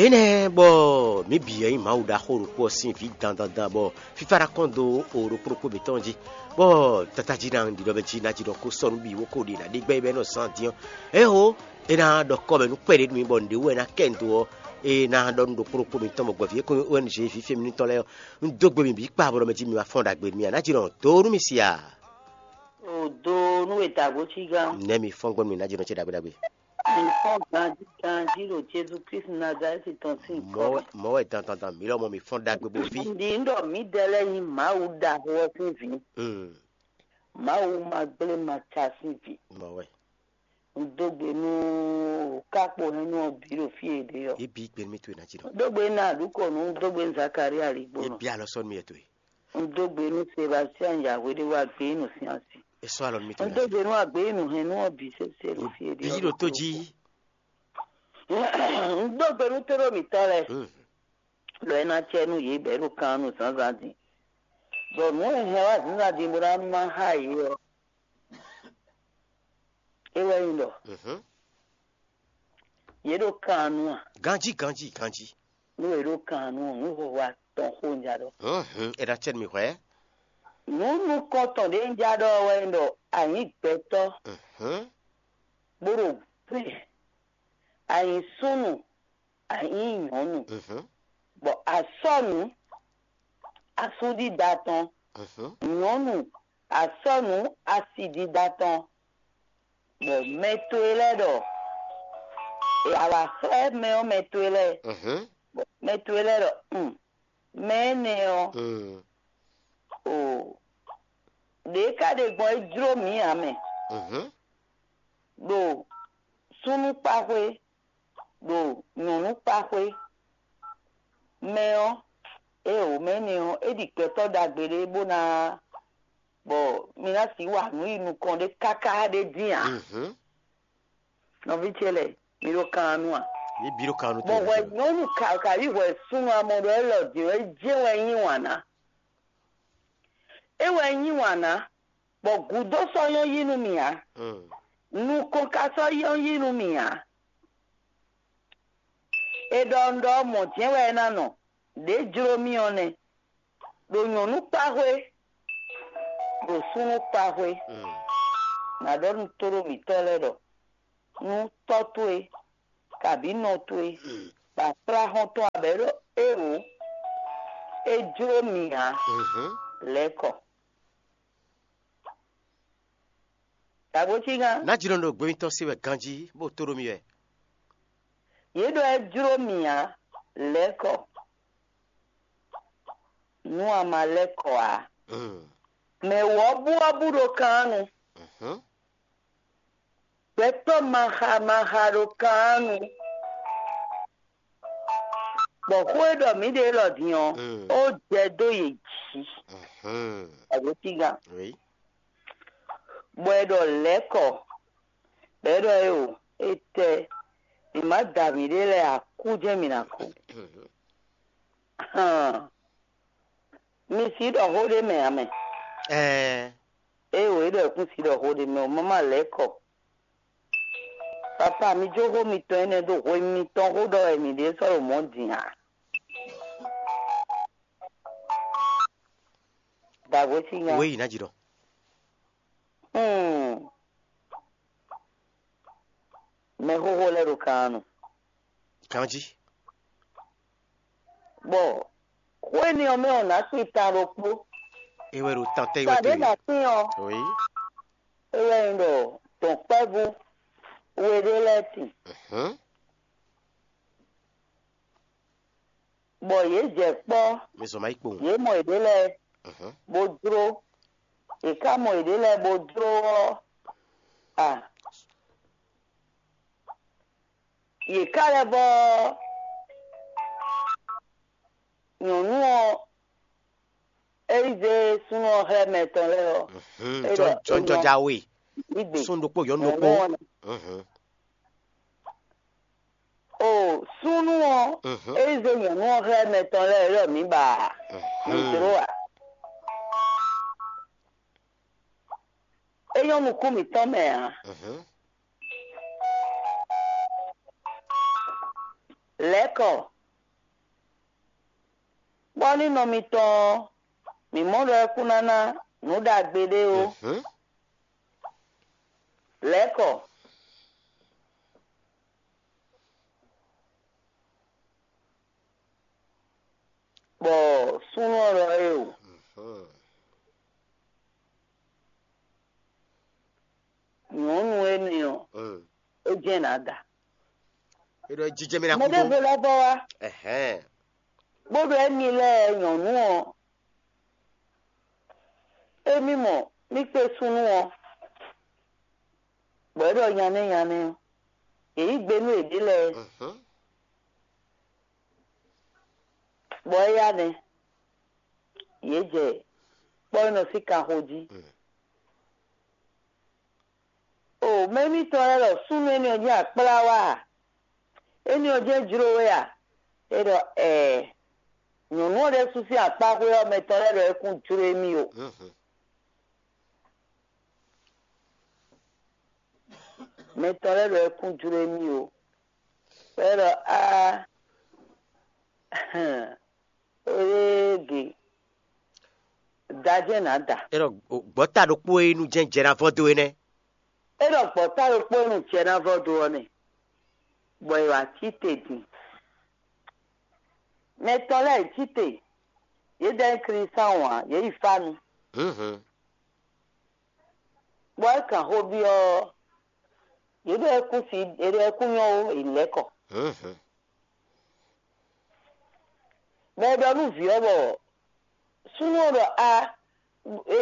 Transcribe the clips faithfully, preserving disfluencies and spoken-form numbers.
Énɛ́ bɔ mǐ bǐ wɛ nyí Mawu ɖaxó ɖokpó ɔ́ sín vǐ dandandan, bɔ fífá ná kɔn dó o ɖokpó ɖokpó mǐtɔn jí, bɔ tata jí ná ɖiɖɔ mɛ jí ná jí ɖɔ kó sɔ́ nú bǐ wó kó ɖe ná ɖe gbɛ́ bɔ é nɔ zán din ɔ́, ého é ná ɖɔ kɔ́ mɛ nú kpɛɖé nú mì bɔ nǔɖé wú wɛ ná kɛ nǔ dó ɔ́, é ná ɖɔ nú ɖokpó ɖokpó mǐtɔn bɔ gbɔ̌ví e kó nyí O N G vǐ fí émí nítɔn lɛ́ɛ ɔ́, un dó gbe mì bǐ kpa bɔ ɖɔ mɛ jí mi wá fɔ́n ɖagbe nú mì ǎ, ná jí nɔ dó nú mì si a? O do nú e dǎgbó cí gán. Nɛ̌ mi fɔ́n gbɔn nú mì ná jí nɔ ce ɖagbe ɖagbe? Mi fɔ́n ganjí ganjí ɖo Jezu Kristu Nazalɛ́ti tɔn sín kɔ mɛ. Mɔ̌ wɛ dandandan mǐ lɔmɔ̌ mi fɔ́n ɖagbe bó ví. Ndi un ɖɔ mǐdɛɛ lɛ́ɛ nyí Mawu ɖaxó ɔ́ sín vǐ. Mm, Mawu ma gblé ma ca sín vǐ. Mɔ̌ wɛ. Un dó gbe nú kákpo hɛn nú ɔ́ bǐ ɖo fí e ɖe ɔ́. Yě bí gbe nú mì towe ná jí nɔ. Un dó gbe nú Aɖǔkɔnu, un dó gbe nú Zakalía Yě Aligbónɔ. Bí alɔ sɔ́ nú mì yɛ towe. Un dó gbe nú Sebastian Yahweh ɖé wá gbé nú sín asi. É sɔ́ alɔ nú mì towe Un ná dó jí nɔ. Gbe nú agběyinú hɛn nú ɔ́ bǐ sésé ɖo fí e ɖe Bí ɔ́ ɖo tó ɖokpó jí. Un dó gbe nú tóɖó mǐtɔn lɛ́ɛ, Mm, ɖɔ é ná cɛ nú yě bɔ é ɖo kan nú zǎnzǎn din. Bɔ nǔ e hɛn wá zǎnzǎn din bó ná má xá yě ɔ́, é wɛ nyí ɖɔ mhm. Yě ɖo kan nu a? Ganjí ganjí ganjí. Nú yě ɖo kan nu ɔ́, nǔ hwɛhwɛ atɔn xó un ja ɖɔ. Mhm, é ná cɛ nú mì hwɛ̌. Nǔ nukɔntɔn ɖě un ja ɖɔ ɔ́ wɛ nyí ɖɔ a nyǐ gbɛtɔ́, Mhm, bó ɖo gbɛ, a nyǐ súnnu, a nyǐ nyɔ̌nu, mhm, bɔ a sɔ́ nǔ asúɖiɖa tɔn, mhm, nyɔ̌nu a sɔ́ nǔ asidida tɔn, bɔ mɛ towe lɛ́ɛ ɖɔ, e a wǎ xlɛ́ mɛ ɔ́ mɛ towe lɛ́ɛ, mhm, bɔ mɛ towe lɛ́ɛ ɖɔ, un, mɛ énɛ́ ɔ́, mm, o, ɖě ka ɖe gbɔn é jló mǐ ǎ mɛ, mhm, ɖo súnnu kpa xwé, ɖo nyɔ̌nu kpa xwé. Mɛ ɔ́, ée wǒ mɛ énɛ́ ɔ́, é ɖi gbɛtɔ́ ɖagbe ɖé bó ná, bɔ mi ná sixú wa nǔ yi nukɔn ɖé káká ɖé dín ǎ. Mhm. Nɔví ce lɛ́ɛ, mi ɖo kan nu a? Yě bǐ ɖo kan nu Bɔ hwɛ nyɔ̌nu ka ka yí hwɛ súnnu amɔ ɖɔ élɔ́ din ɔ́, é jɛ́n wɛ é yí wǎn ná. É wɛ é yí wǎn ná, bɔ gǔdo sɔ́ nyɔ́ yí nú mì ǎ. Mm. Nukɔn ka sɔ́ nyɔ́ yí nú mì ǎ. È ɖɔ un ɖɔ mɔ̌ jɛ́n wɛ é ná nɔ, ɖě jló mì ɔ́ nɛ́. Ɖo nyɔ̌nu kpa xwé, ɖo súnnu kpa xwé, Mm. nǎ ɖɔ nú tóɖó mǐtɔn lɛ́ɛ ɖɔ, nú tɔ́ towe, kabǐ nɔ towe, bɔ a kplá xɔ́ntɔn abɛ ɖɔ éeǒ, é jló mì ǎ, Mhm. lɛ̌ kɔ. Dǎgbó cígán, Ná jínɔ ɖo gbɛmítɔ́ se wɛ ganjí, bó tó ɖó mì wɛ. Yě ɖɔ é jló mì ǎ, lɛ̌ kɔ. Nú a ma lɛ́ kɔ ǎ. Mm. Mɛ wɔ̌buwɔ́bú ɖo kannu. Mhm. Gbɛtɔ́ maxa maxa ɖo kannu. Bɔ xó e ɖɔ mǐ ɖe élɔ́ din ɔ́, Mm. ó jɛ dó yě jí. Mhm. Agbótígán. Oui. Bɔ è ɖɔ lɛ̌ kɔ, bɔ è ɖɔ é o, étɛ́, mǐ má da mǐɖée lɛ́ɛ ǎ, kú jɛ́n mǐ ná kú. Mhm. Hán, mi sixú ɖɔ xó ɖé mɛ ǎ mɛ. Ɛɛ. Ée wǒ é ɖɔ è kún sixú ɖɔ xó ɖé mɛ ɔ́, má má lɛ̌ kɔ. Papa, mi jó xó mitɔn énɛ́ ɖó hwenu mitɔn xó ɖɔ wɛ mǐ ɖe sɔ́ ɖo mɔ̌ din ǎ. Dǎgbó sín nya. Wěyi ná jí ɖɔ. Hmm. Mɛxóxó lɛ́ɛ ɖo kan nu. Ganjí. Bɔ xó énɛ́ ɔ́ mɛ ɔ́, nǎ kpi ta ɖokpó. É wɛ ɖo tantɛ é wɛ Tàbí tó nǎ kpin ɔ́, Oui. É wɛ nyí ɖɔ dɔ̌nkpɛvú we ɖé lɛ́ɛ tin, Mhm. bɔ yě jɛ kpɔ́, Mi zɔn ma yí kpowun. Yě mɔ yěɖée lɛ́ɛ Mhm. Bó jló. Yě ká mɔ yěɖée lɛ́ɛ bó jló ɔ́, a, yě ká lɛ́ vɔ́ nyɔ̌nu ɔ́, é yi zé súnnu ɔ́ xlɛ́ mɛ tɔn lɛ́ɛ ɔ́, Mhm. é ɖɔ Jɔn- jɔn- é nɔ jɔja we. Yí gbe. Sún ɖokpó yɔ̌nu Nyɔ̌nu ɖokpó. Ɔ́ nɔ. Mhm. O súnnu ɔ́, Mhm. É yi zé nyɔ̌nu ɔ́ xlɛ́ mɛ tɔn lɛ́ɛ, é ɖɔ mǐ ba a? Mǐ Mhm. Jló a? É nyɔ́ nukún mǐtɔn mɛ ǎ. Mhm. Lɛ̌kɔ, bɔ ní nɔ mitɔn ɔ́, mǐ mɔ ɖɔ é kún ná ná nǔ ɖagbe ɖé ó. Lɛ̌kɔ, bɔ súnnu ɔ́ ɖɔ éeǒ. Nyɔ̌nu énɛ́ ɔ́, é jɛ́n nǎ da. É ɖɔ jijɛ mì ná kú dó. Mɛɖěvo lɛ́ vɔ wá, Ɛhɛn. bó ɖɔ émí lɛ́ɛ nyɔ̌nu ɔ́, émí mɔ mí kpé súnnu ɔ́, bɔ é ɖɔ nyanɛ́ nyanɛ́ ɔ́, yě yí gbe nú yěɖée lɛ́ɛ, Mhm. bɔ éyá nɛ́, yě jɛ kpɔ́ e nɔ sín kanxo jí. Mm. O mɛ émítɔn lɛ́ɛ ɖɔ súnnu énɛ́ ɔ́ jɛ́n akplá wá a? Énɛ́ ɔ́ jɛ́n jló we a? É ɖɔ ɛɛ. Nyɔ̌nu ɔ́ ɖésú sín akpáxwé ɔ́ mɛ tɔn lɛ́ɛ ɖɔ é kún jló émí o. Mhm. Mɛ tɔn lɛ́ɛ ɖɔ é kún jló émí o. É ɖɔ aa. Oyeegbe, da jɛ́n nǎ da. É ɖɔ gbɔ̌ta ɖokpó e nu jɛ́n jɛ ná vɔ́ dó é nɛ́. É ɖɔ gbɔ̌ta ɖokpó e nu jɛ ná vɔ́ dó ɔ́ nɛ, bɔ è wǎ cí te din. Mɛ tɔn lɛ́ɛ cí te, yě dɛ nyí Klísáwun ǎ, yě yi fá nu. Mhm. Bɔ é kan xó byɔ́ ɔ́, yě ɖɔ é kún si, yě ɖɔ é kún nyɔ́ ó, è lɛ̌ kɔ. Mhm. Bɔ è ɖɔ nú vǐ ɔ́ bɔ súnnu ɔ́ ɖɔ a, e,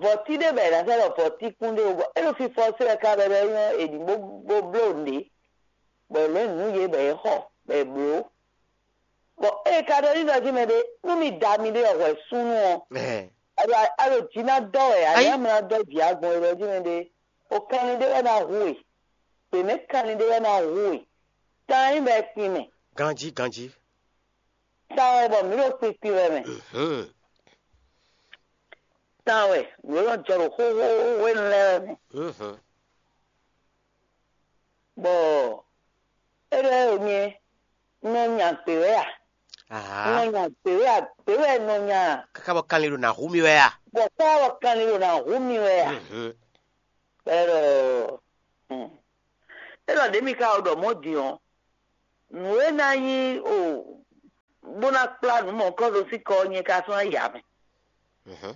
vɔ̌ti ɖé bɔ è nǎ sɛ́ ɖɔ vɔ̌ti kún ɖé ó, bɔ é ɖo fifɔ se wɛ ka bɔ é nyɔ́ è ɖǐ bó bó bló nǔɖé, bɔ è lǒ nǔ yě bɔ é xɔ bɔ è blǒ. Bɔ ée ka ɖɔ n'i ɖɔ jí mɛ ɖé, nú mi da miɖée ɔ́ hwɛ súnnu ɔ́, Ɛhɛn. a ɖo a ɖo jǐ ná dɔ́ wɛ, a Ayi. nyǎ mlá dɔ́ jǐ agbɔn e ɖɔ jí mɛ ɖé, o kanlin ɖé wɛ ná hu we, gbě mɛ kanlin ɖé wɛ ná hu we, tan nyí bɔ è kpin mɛ, Ganjí ganjí. tan wɛ bɔ mǐ ɖo kpinkpin wɛ mɛ, Mhm. tan wɛ mǐ ɖo nɔ jɔ ɖo xóxó hwenu lɛ́ɛ wɛ mɛ. Mhm. Bɔ é ɖɔ ɛ nyɛ nɔ nya gbě wɛ a? Nɔ Aha. Nya gbě wɛ a? Gbě wɛ nɔ nya a? Káká bɔ kanlin ɖo nǎ hu mì wɛ a? Bɔ kpɔ́ wɔ kanlin ɖo ná hu mi wɛ a? Mhm. Bɔ é ɖɔ hmm. É ɖɔ ɖě mi ka ɖɔ mɔ̌ din ɔ́, nǔ e ná nyí o bó ná kplá nǔ mɔ̌hunkɔtɔn sín kɔ ɔ́ nyɛ ka sɔ́ ná yi amɛ. Mhm.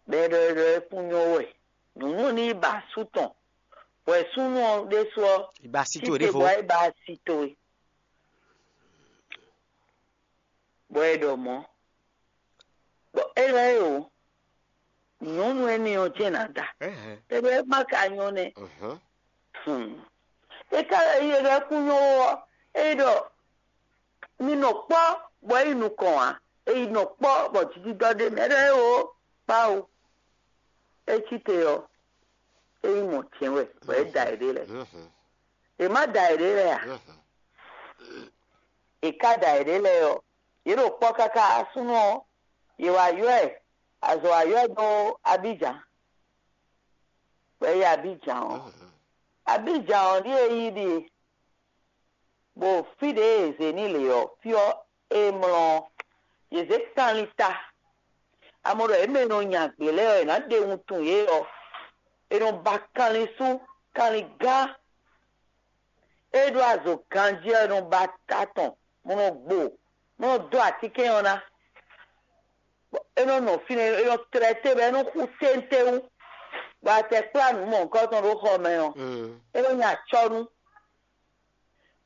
Bɔ é ɖɔ é ɖɔ é kún nyɔ́ wɛ. Nǔnú ní yi ba asú tɔn. Bɔ è súnnu ɔ́ ɖésú ɔ́, Ìgbà sí tó títí ɖěvo. bɔ é ba asi towe. Bɔ é ɖɔ mɔ̌. Bɔ é lɛ́ o, nyɔ̌nu énɛ́ ɔ́ jɛ́n ná da. Ɛhɛn. É ɖɔ é má ka nyɔ́ nɛ́. Mhm. Hmm. É ka lɛ́ yi é ɖɔ é kún nyɔ́ ó ɔ́, é ɖɔ mi nɔ kpɔ́ bɔ é yi nukɔn ǎ. É yi nɔ kpɔ́ bɔ jijidɔ ɖé mɛ. É ɖɔ é o, kpá o. É cí te ɔ́, é yi mɔ jɛ̌n wɛ, bɔ é da yěɖée lɛ́ɛ. Mhm. È má da yěɖée lɛ́ɛ a? Mhm. È ka da yěɖée lɛ́ɛ ɔ́, yě ɖo kpɔ́ káká súnnu ɔ́, yě wá ylɔ́ ɛ, azɔ̌ wá ylɔ́ ɛ dó Abíjan. Bɔ é yi Abíjan ɔ́, Mhm. Abíjan ɔ́ ɖíe yí ɖíe, bɔ fí ɖě e è zě n'i lě ɔ́, fí ɔ́ e mlɔ ɔ́, yě zě kanlin ta. Amɔ ɖɔ yě mɛ e nɔ nya gbě lɛ́ɛ ɔ́, è nǎ ɖe wuntun yě ɔ́, è nɔ ba kanlin sú, kanlin gán. É ɖó azɔ̌ ganjí ɔ́, è nɔ ba ta tɔn, bó nɔ gbo, bó nɔ dó atínkɛn ɔ́ ná. É nɔ nɔ fínɛ́, é nɔ tlɛ té bɔ é nɔ xú téńtéwú, bɔ a tɛ kplá nǔ mɔ̌hunkɔtɔn ɖó xɔ mɛ ɔ́, Mm. é nɔ nya acɔ́nú.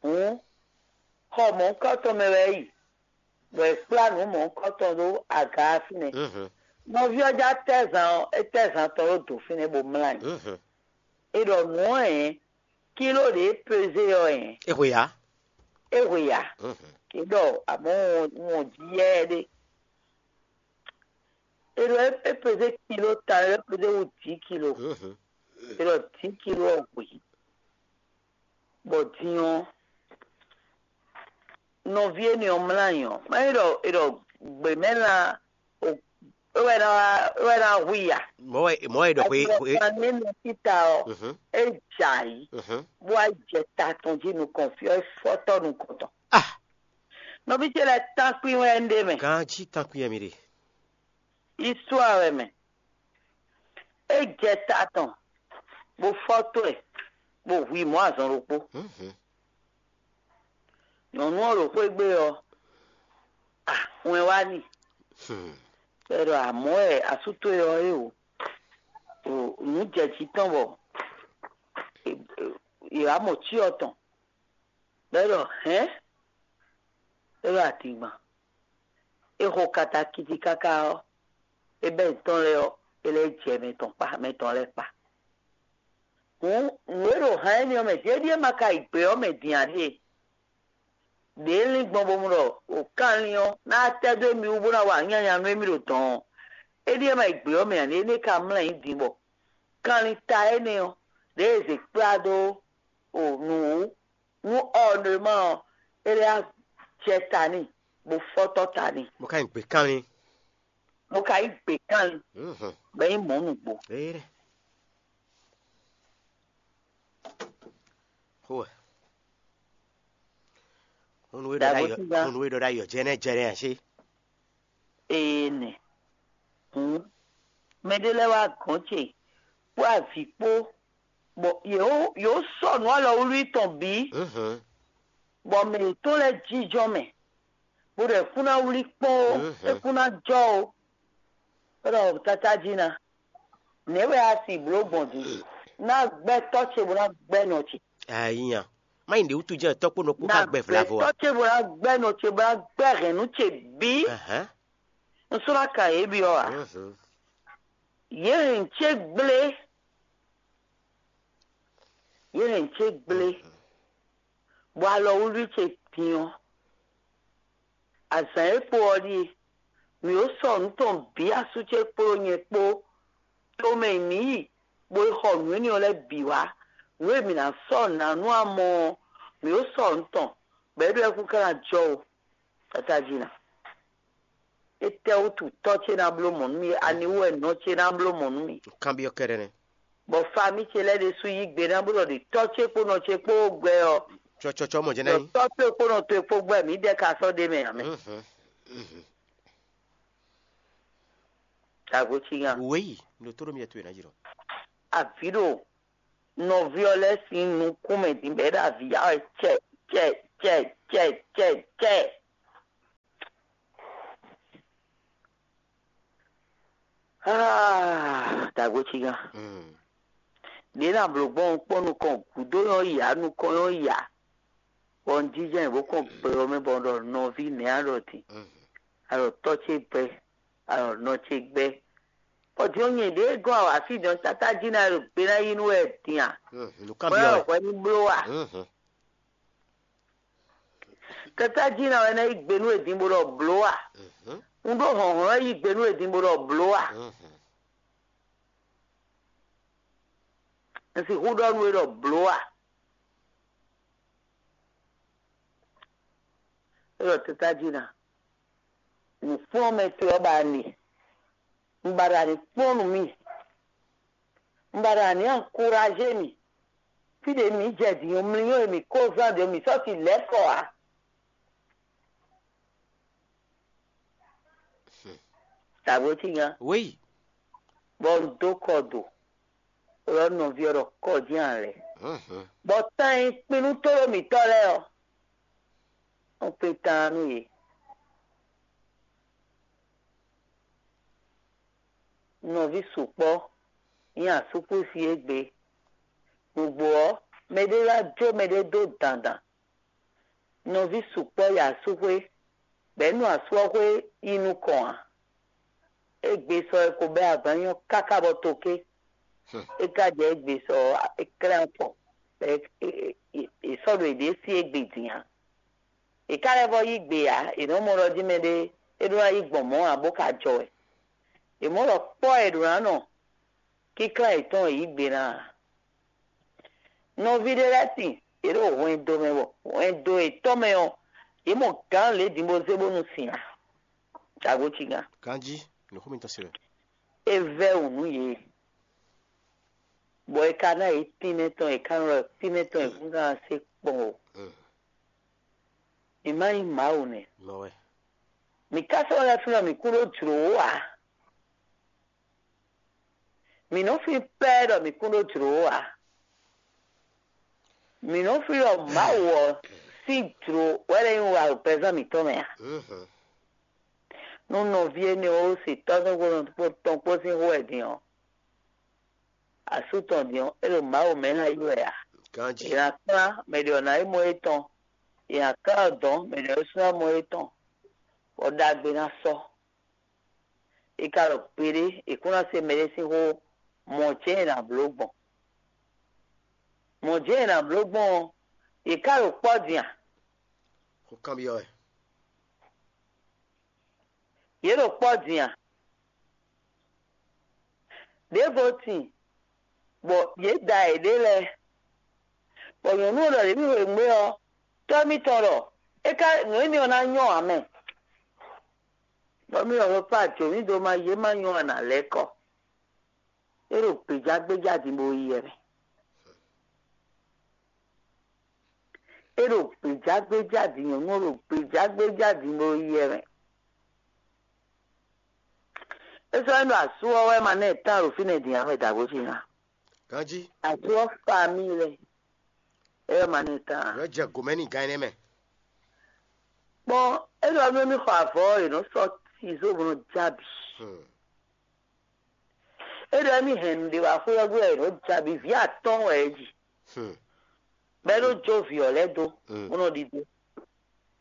Hǔn xɔ mɔ̌hunkɔtɔn mɛ wɛ é yi, bɔ è kplá nǔ mɔ̌hunkɔtɔn ɖó aga ɔ́ fínɛ́. Mhm. Nɔví ɔ́ já tɛ́ zan ɔ́, é tɛ́ zan tɔn ɖó dǒ fínɛ́ bó mlá ayǐ. Mhm. È ɖɔ nǔ ɔ́ hɛn, kíló ɖě é pezé ɔ́ hɛn, É hwe ya. é hwe ya. Mhm. Kě ɖɔ àmọ́ wọn jí yɛ ɖé. É ɖɔ é pezé kilo ta, é pezé wu dǐ kilo. Mhm. É ɖɔ dǐ kilo ɔ́ hwe. Bɔ din ɔ́, nɔví énɛ́ ɔ́ mlá ayǐ ɔ́, má nyí ɖɔ è ɖɔ gběmɛ́lan o, é wɛ ná wá, é wɛ ná hu i a? Mɔ̌ wɛ mɔ̌ wɛ ɖɔ xwe xwe. Kan ní nɔ títà ɔ́, Mhm. é jɛ ayǐ, Mhm. bó wá jɛ ta tɔn jí nukɔn fí ɔ́, é fɔ́tɔ́ nukɔn tɔn. Ah. Nɔví ce lɛ́ɛ tánkpin wɛ un ɖe mɛ. Ganjí tánkpin wɛ mi ɖe. Istwá wɛ mɛ. É jɛ ta tɔn, bó fɔ́ tó ɛ, bó hu i mɔ̌ azɔn ɖokpó. Nyɔ̌nu ɔ́ ɖo xwé gbe ɔ́, ah, wɛn wá n'i. Bɔ é ɖɔ amɔ̌ wɛ asú towe ɔ́ é o. Nǔ jɛ jǐ tɔn bɔ è wǎ mɔ cyɔ tɔn. Bɔ é ɖɔ hɛ̌n, é ɖɔ adingban. É xo katakiti káká ɔ́, é bɛ́ nǔ tɔn lɛ́ɛ ɔ́, é lɛ́ jɛ mɛ tɔn kpá, mɛ tɔn lɛ́ɛ kpá. Hǔn nǔ e ɖo han énɛ́ ɔ́ mɛ din é ɖíe ma ka yi gbě ɔ́ mɛ din ǎ ɖíe. Đě é lín gbɔn bó mu ɖɔ o kanlin ɔ́ ná tɛ́ dó émí wú bó ná wa nyanya nú émí ɖo dɔ̌n ɔ́, é ɖíe ma yi gbě ɔ́ mɛ ǎ, énɛ́ ka mlá nyǐ din bɔ kanlin ta énɛ́ ɔ́, ɖěe è zě kplá dó o nǔ wú nú ɔ́ nɔ e ma ɔ́, é lɛ́ jɛ ta n'i, bó fɔ́tɔ́ ta n'i, Mo ka nyi gbě kanlin. Mo ka yí gbě kanlin, Mhm. Bɔ é nyí mɔ̌ nǔgbó. Ée ɖɛ. Xó wɛ. Hunu e ɖɔ Dàgbò ɖ'ayǐ, tíga. Hunu e ɖɔ ɖ'ayǐ ɔ́, jɛnɛ jɛnɛ ǎ ṣé? Ee nɛ. Hǔn, mɛɖé lɛ́ɛ wá gɔ̌n ce kpó avǐ kpó, bɔ yě wó yě wó sɔ́ nǔ alɔwlí tɔn bǐ, Mhm. Bɔ mɛ yětɔn lɛ́ɛ jínjɔ́n mɛ, bó ɖɔ é kún ná wlí kpɔ́n ó, Mhm. É kún ná jɔ ó. É ɖɔ tata jí ná, nɛ̌ wɛ a si blǒ gbɔn din? Ná gbɛ́ tɔ́ ce bó ná gbɛ́ nɔ ce. Ayinya. Má nyí ɖě wútu jɛ́n tɔ́ kpó nɔ kpó ká gbɛ vlavo a? Tɔ́ ce bó ná gbɛ́ nɔ ce bó ná gbɛ́ hɛ̌nnu ce bǐ. Ahán. Un sɔ́ ná kan yě byɔ́ ǎ. Mhm. Yě hɛn ce gblé. Yě hɛn ce gblé. Mhm. Bɔ alɔwlí ce din ɔ́, azǎn e kpo ɔ́ ɖíe: mǐ ó sɔ nǔ tɔn bǐ asú ce kpódó nyɛ kpó, tomɛ e mǐ yi, bó yi xɔ nǔ énɛ́ ɔ́ lɛ́ɛ bǐ wá. Nǔ e mǐ ná sɔ́ nǎ nú amɔ ɔ́, mǐ ó sɔ nǔ tɔn, bɔ é ɖo ɛkún ká ná jɔ ó. Tata jí ná. Étɛ́ wútu tɔ́ ce ná bló mɔ̌ nú mì? Ani wú wɛ nɔ ce ná bló mɔ̌ nú mì? Kanbyɔ́ kɛ́ɖɛ́ nɛ́. Bɔ famí ce lɛ́ɛ ɖésú yí gbe ná bó ɖɔ ɖě tɔ́ ce kpó nɔ ce kpó gbɛ ɔ́, Cɔcɔcɔ mɔ jɛ́n ná ɖɔ nyí. Tɔ́ ce kpó nɔ towe kpó gbɛ, mǐ dɛ ka sɔ́ ɖ'é mɛ ǎ mɛ. Mhm. Mhm. Dàgbò cí nya. Wěyi, ɖo tó ɖo mì towe ná jǐ ɖɔ. Avǐ ɖo nɔví ɔ́ lɛ́ɛ sín nukún mɛ din bɔ é ɖo avǐ ya wɛ cɛ cɛ cɛ cɛ cɛ cɛ. Ah, dàgbò cí nya. Mm. Ɖě ná blǒ gbɔn kpɔ́n nukɔn gǔdo nyɔ́ yǎ, nukɔn nyɔ́ yǎ. Bɔ un jínjɔ́n bó kɔn gbɛ ɔ́ mɛ bɔ un ɖɔ nɔví nɛ̌ a ɖɔ din? Mhm. A ɖɔ tɔ́ ce gbɛ, a ɖɔ nɔ ce gbɛ. Bɔ din ɔ́ nyɛ ɖěe gɔ́n awǎ fí din ɔ́, tata jí ná ɖo gbe ná yí nú wɛ din a? Mhm. Nǔ Bɔ é kanbyɔ́ wɛ. Wɛ hwɛ ní bló a? Mhm. Tata jí ná wɛ ná yí gbe nú wɛ din bó ɖɔ bló a? Mhm. Un ɖó hlɔ̌nhlɔ́n yí gbe nú wɛ din bó ɖɔ bló a? Mhm. Un sixú ɖɔ nú we ɖɔ bló a? É ɖɔ tata jí ná. Nǔkplɔ́nmɛ towe ɔ́ ba a nɖe. Un ba ɖo a ní kplɔ́n nú mì. Un ba ɖo a ní ankuraze mì. Fí ɖě mǐ jɛ din ɔ́, mlí ɔ́, mǐ kó zán ɖě mǐ sɔ́ si lɛ̌ kɔ ǎ. Dàgbò cí nya. Wéyi. Bɔ un dó kɔ do. Lɔ nɔví ɔ́ ɖɔ kɔ dín alɛ. Mhm. Bɔ tán e kpín nú tóɖó mǐtɔn lɛ́ɛ ɔ́, un kpé tán nú yě. Nɔví sukpɔ́ nyí asúkúsi égbé. Nǔgbó ɔ́, mɛɖé wá jó mɛɖé dó dandan. Nɔví sukpɔ́ yi asúxwé, bɔ é nu asú ɔ́ xwé yi nukɔn ǎ. Égbé sɔ é ko bɛ́ agban nyɔ́ káká bɔ toké. É ka jɛ égbé sɔ ɔ́, é klɛ́n afɔ, bɔ é sɔ́ ɖo yěɖée sí égbé din ǎ. È ká lɛ́ vɔ́ yí gbe ǎ; è nɔ́ mɔ ɖɔ jí mɛɖé é ɖó ná yí gbɔn mɔ̌ ǎ bó ka jɔ wɛ. È mɔ̌ ɖɔ kpɔ́ è ɖǒ ná nɔ kínklan yětɔn e yǐ gbe ná ǎ. Nɔví ɖé lɛ́ɛ sin, yě ɖo hwɛndo mɛ bɔ hwɛndo yětɔn mɛ ɔ́, yě mɔ gǎn lě din bó zé bónú sin ǎ. Dǎgbó cígán. Ganjí, nǔxó mitɔn se wɛ. É vɛ́ wǔ nú yě, bɔ è ka ná yě tínmɛ tɔn, è ka nɔ ɖɔ tínmɛ tɔn è kún ná se kpɔn o. Mm. Mǐ má nyí Mawu nɛ́. Mɔ wɛ. Mǐ ka sɔ́ lɛ́ flɔ́ mǐ kún ɖó jlǒ ó ǎ. Mǐ nɔ flín pɛ́ ɖɔ mǐ kún ɖó jlǒ ó ǎ. Mǐ nɔ flín ɖɔ Mawu ɔ́ sín jlǒ wɛ lɛ́ nyí wa ɖo pɛzán mǐtɔn mɛ ǎ. Mhm. Nú nɔví énɛ́ ɔ́ se tɔ́ tɔn kpó sín xó wɛ din ɔ́, asú tɔn din ɔ́, é ɖo Mawu mɛ ná yi wɛ ǎ. Ganji. È nǎ kplán mɛ ɖě ɔ́ ná nyí mɔ étɔn. È nǎ kplán dɔ̌n mɛ ɖě ɔ́ sú ná mɔ étɔn, bɔ ɖagbe ná sɔ́. È ka ɖo gbeɖé, è kún ná se mɛɖé sín xó, mɔ̌ jɛ́n è nǎ bló gbɔn. Mɔ̌ jɛ́n è nǎ bló gbɔn ɔ́, yě ká ɖo kpɔ́ din a? Xó kanbyɔ́ wɛ. Yě ɖo kpɔ́ din a? Ɖěvo tin, bɔ yě da yěɖée lɛ́ɛ, bɔ nyɔ̌nu ɔ́ ɖɔ ɖě mì xweyǐgbe ɔ́, tɔ́ mitɔn ɖɔ é ká nǔ énɛ́ ɔ́ ná nyɔ́ ǎ mɛ. Bɔ mì ɖɔ xwekpá jǒ mì dó má yě má nyɔ́ ǎ nǎ lɛ́ kɔ. É ɖo gbějágbéjá din bó yi wɛ mɛ. É ɖo gbějágbéjá din nyɔ̌nu ɔ́ ɖo gbějágbéjá din bó yi wɛ mɛ. É sɔ́ nyí ɖɔ asú ɔ́ wɛ ma ná ɛ tán ɖo fínɛ́ din ǎ wɛ dǎgbó ce ná. Ganji. Asú ɔ́ fa mì lɛ. É wɛ ma ná ɛ tán ǎ. Yɔ jɛ gomɛ ni gan ɛnɛ mɛ. Kpɔn é ɖɔ nú émí xɔ avɔ ɔ́, è nɔ sɔ́ tizó bó nɔ já bǐ. Hmm. É ɖɔ émí hɛn nǔɖé wá xwé ɔ́ gbe wɛ è nɔ já bǐ, vǐ atɔ́ɔ́n wɛ é ji. Hmm. Bɔ é nɔ jó vǐ ɔ́ lɛ́ɛ dó, Mm. bó nɔ ɖidó.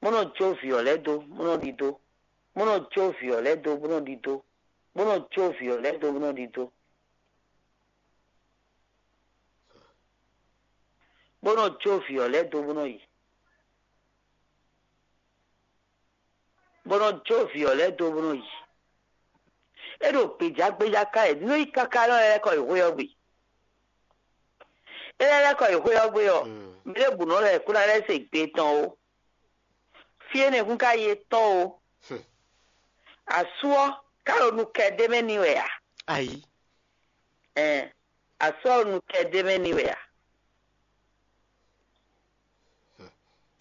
Bó nɔ jó vǐ ɔ́ lɛ́ɛ dó, bó nɔ ɖidó. Bó nɔ jó vǐ ɔ́ lɛ́ɛ dó, bó nɔ ɖidó. Bó nɔ jó vǐ ɔ́ lɛ́ɛ dó, bó nɔ ɖidó. Bó nɔ jó vǐ ɔ́ lɛ́ɛ dó, bó nɔ yi. Bó nɔ jó vǐ ɔ́ lɛ́ɛ dó, bó nɔ yi. É ɖo gbějágbéjá ká yě nú yi káká nɔ lɛ́ kɔ yi xwé ɔ́ gbe. É lɛ́ lɛ́ kɔ yi xwé ɔ́ gbe ɔ́, Mm. mɛ ɖěbǔ nɔ lɛ́ kó ná lɛ́ se gbe tɔn ó. Fí énɛ́ kún ka yi étɔn ó. Hmm. Asú ɔ́ ká ɖo nu kɛ d'é mɛ n'i wɛ ǎ. Ayi. Ɛn, asú ɔ́ ɖo nu kɛ d'é mɛ n'i wɛ ǎ.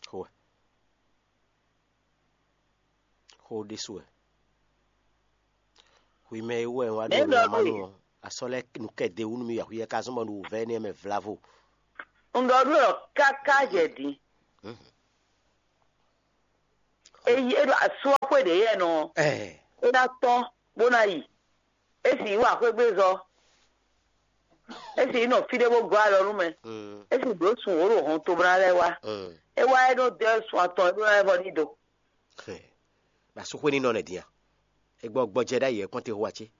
Xó wɛ. Xó ɖésú wɛ. Xwi mɛ e wɛ wá ɖo Mɛ nǔ ɖɔ ma ɖo nú yi. Ɔ. Asɔ lɛ nu kɛ de wú nú mi axwi yɛ ka zɔn bɔ nu wò vɛ énɛ́ mɛ vlavo. Un ɖɔ nú ɔ káká jɛ din. Mhm. Eyi é ɖo asú ɔ́ xwé ɖě yɛ nɔ. Ɛɛ. É ná tɔ́n bó ná yi. É sì yí wǎ xwé gbé zɔ. É sì yí nɔ fí ɖé bó gɔ́ alɔ nú mɛ. Mm. É sì bló sun wǒ ɖo hɔn tobla lɛ́ɛ wá. Mm. É wá é ɖó dɛ́ sun atɔn é ɖó ná vɔ ní do. Hɛ. Ba sukwe ní nɔ nɛ dia. Egbɔ gbɔjɛ ɖ'ayǐ ɛ kɔn te hu atsé.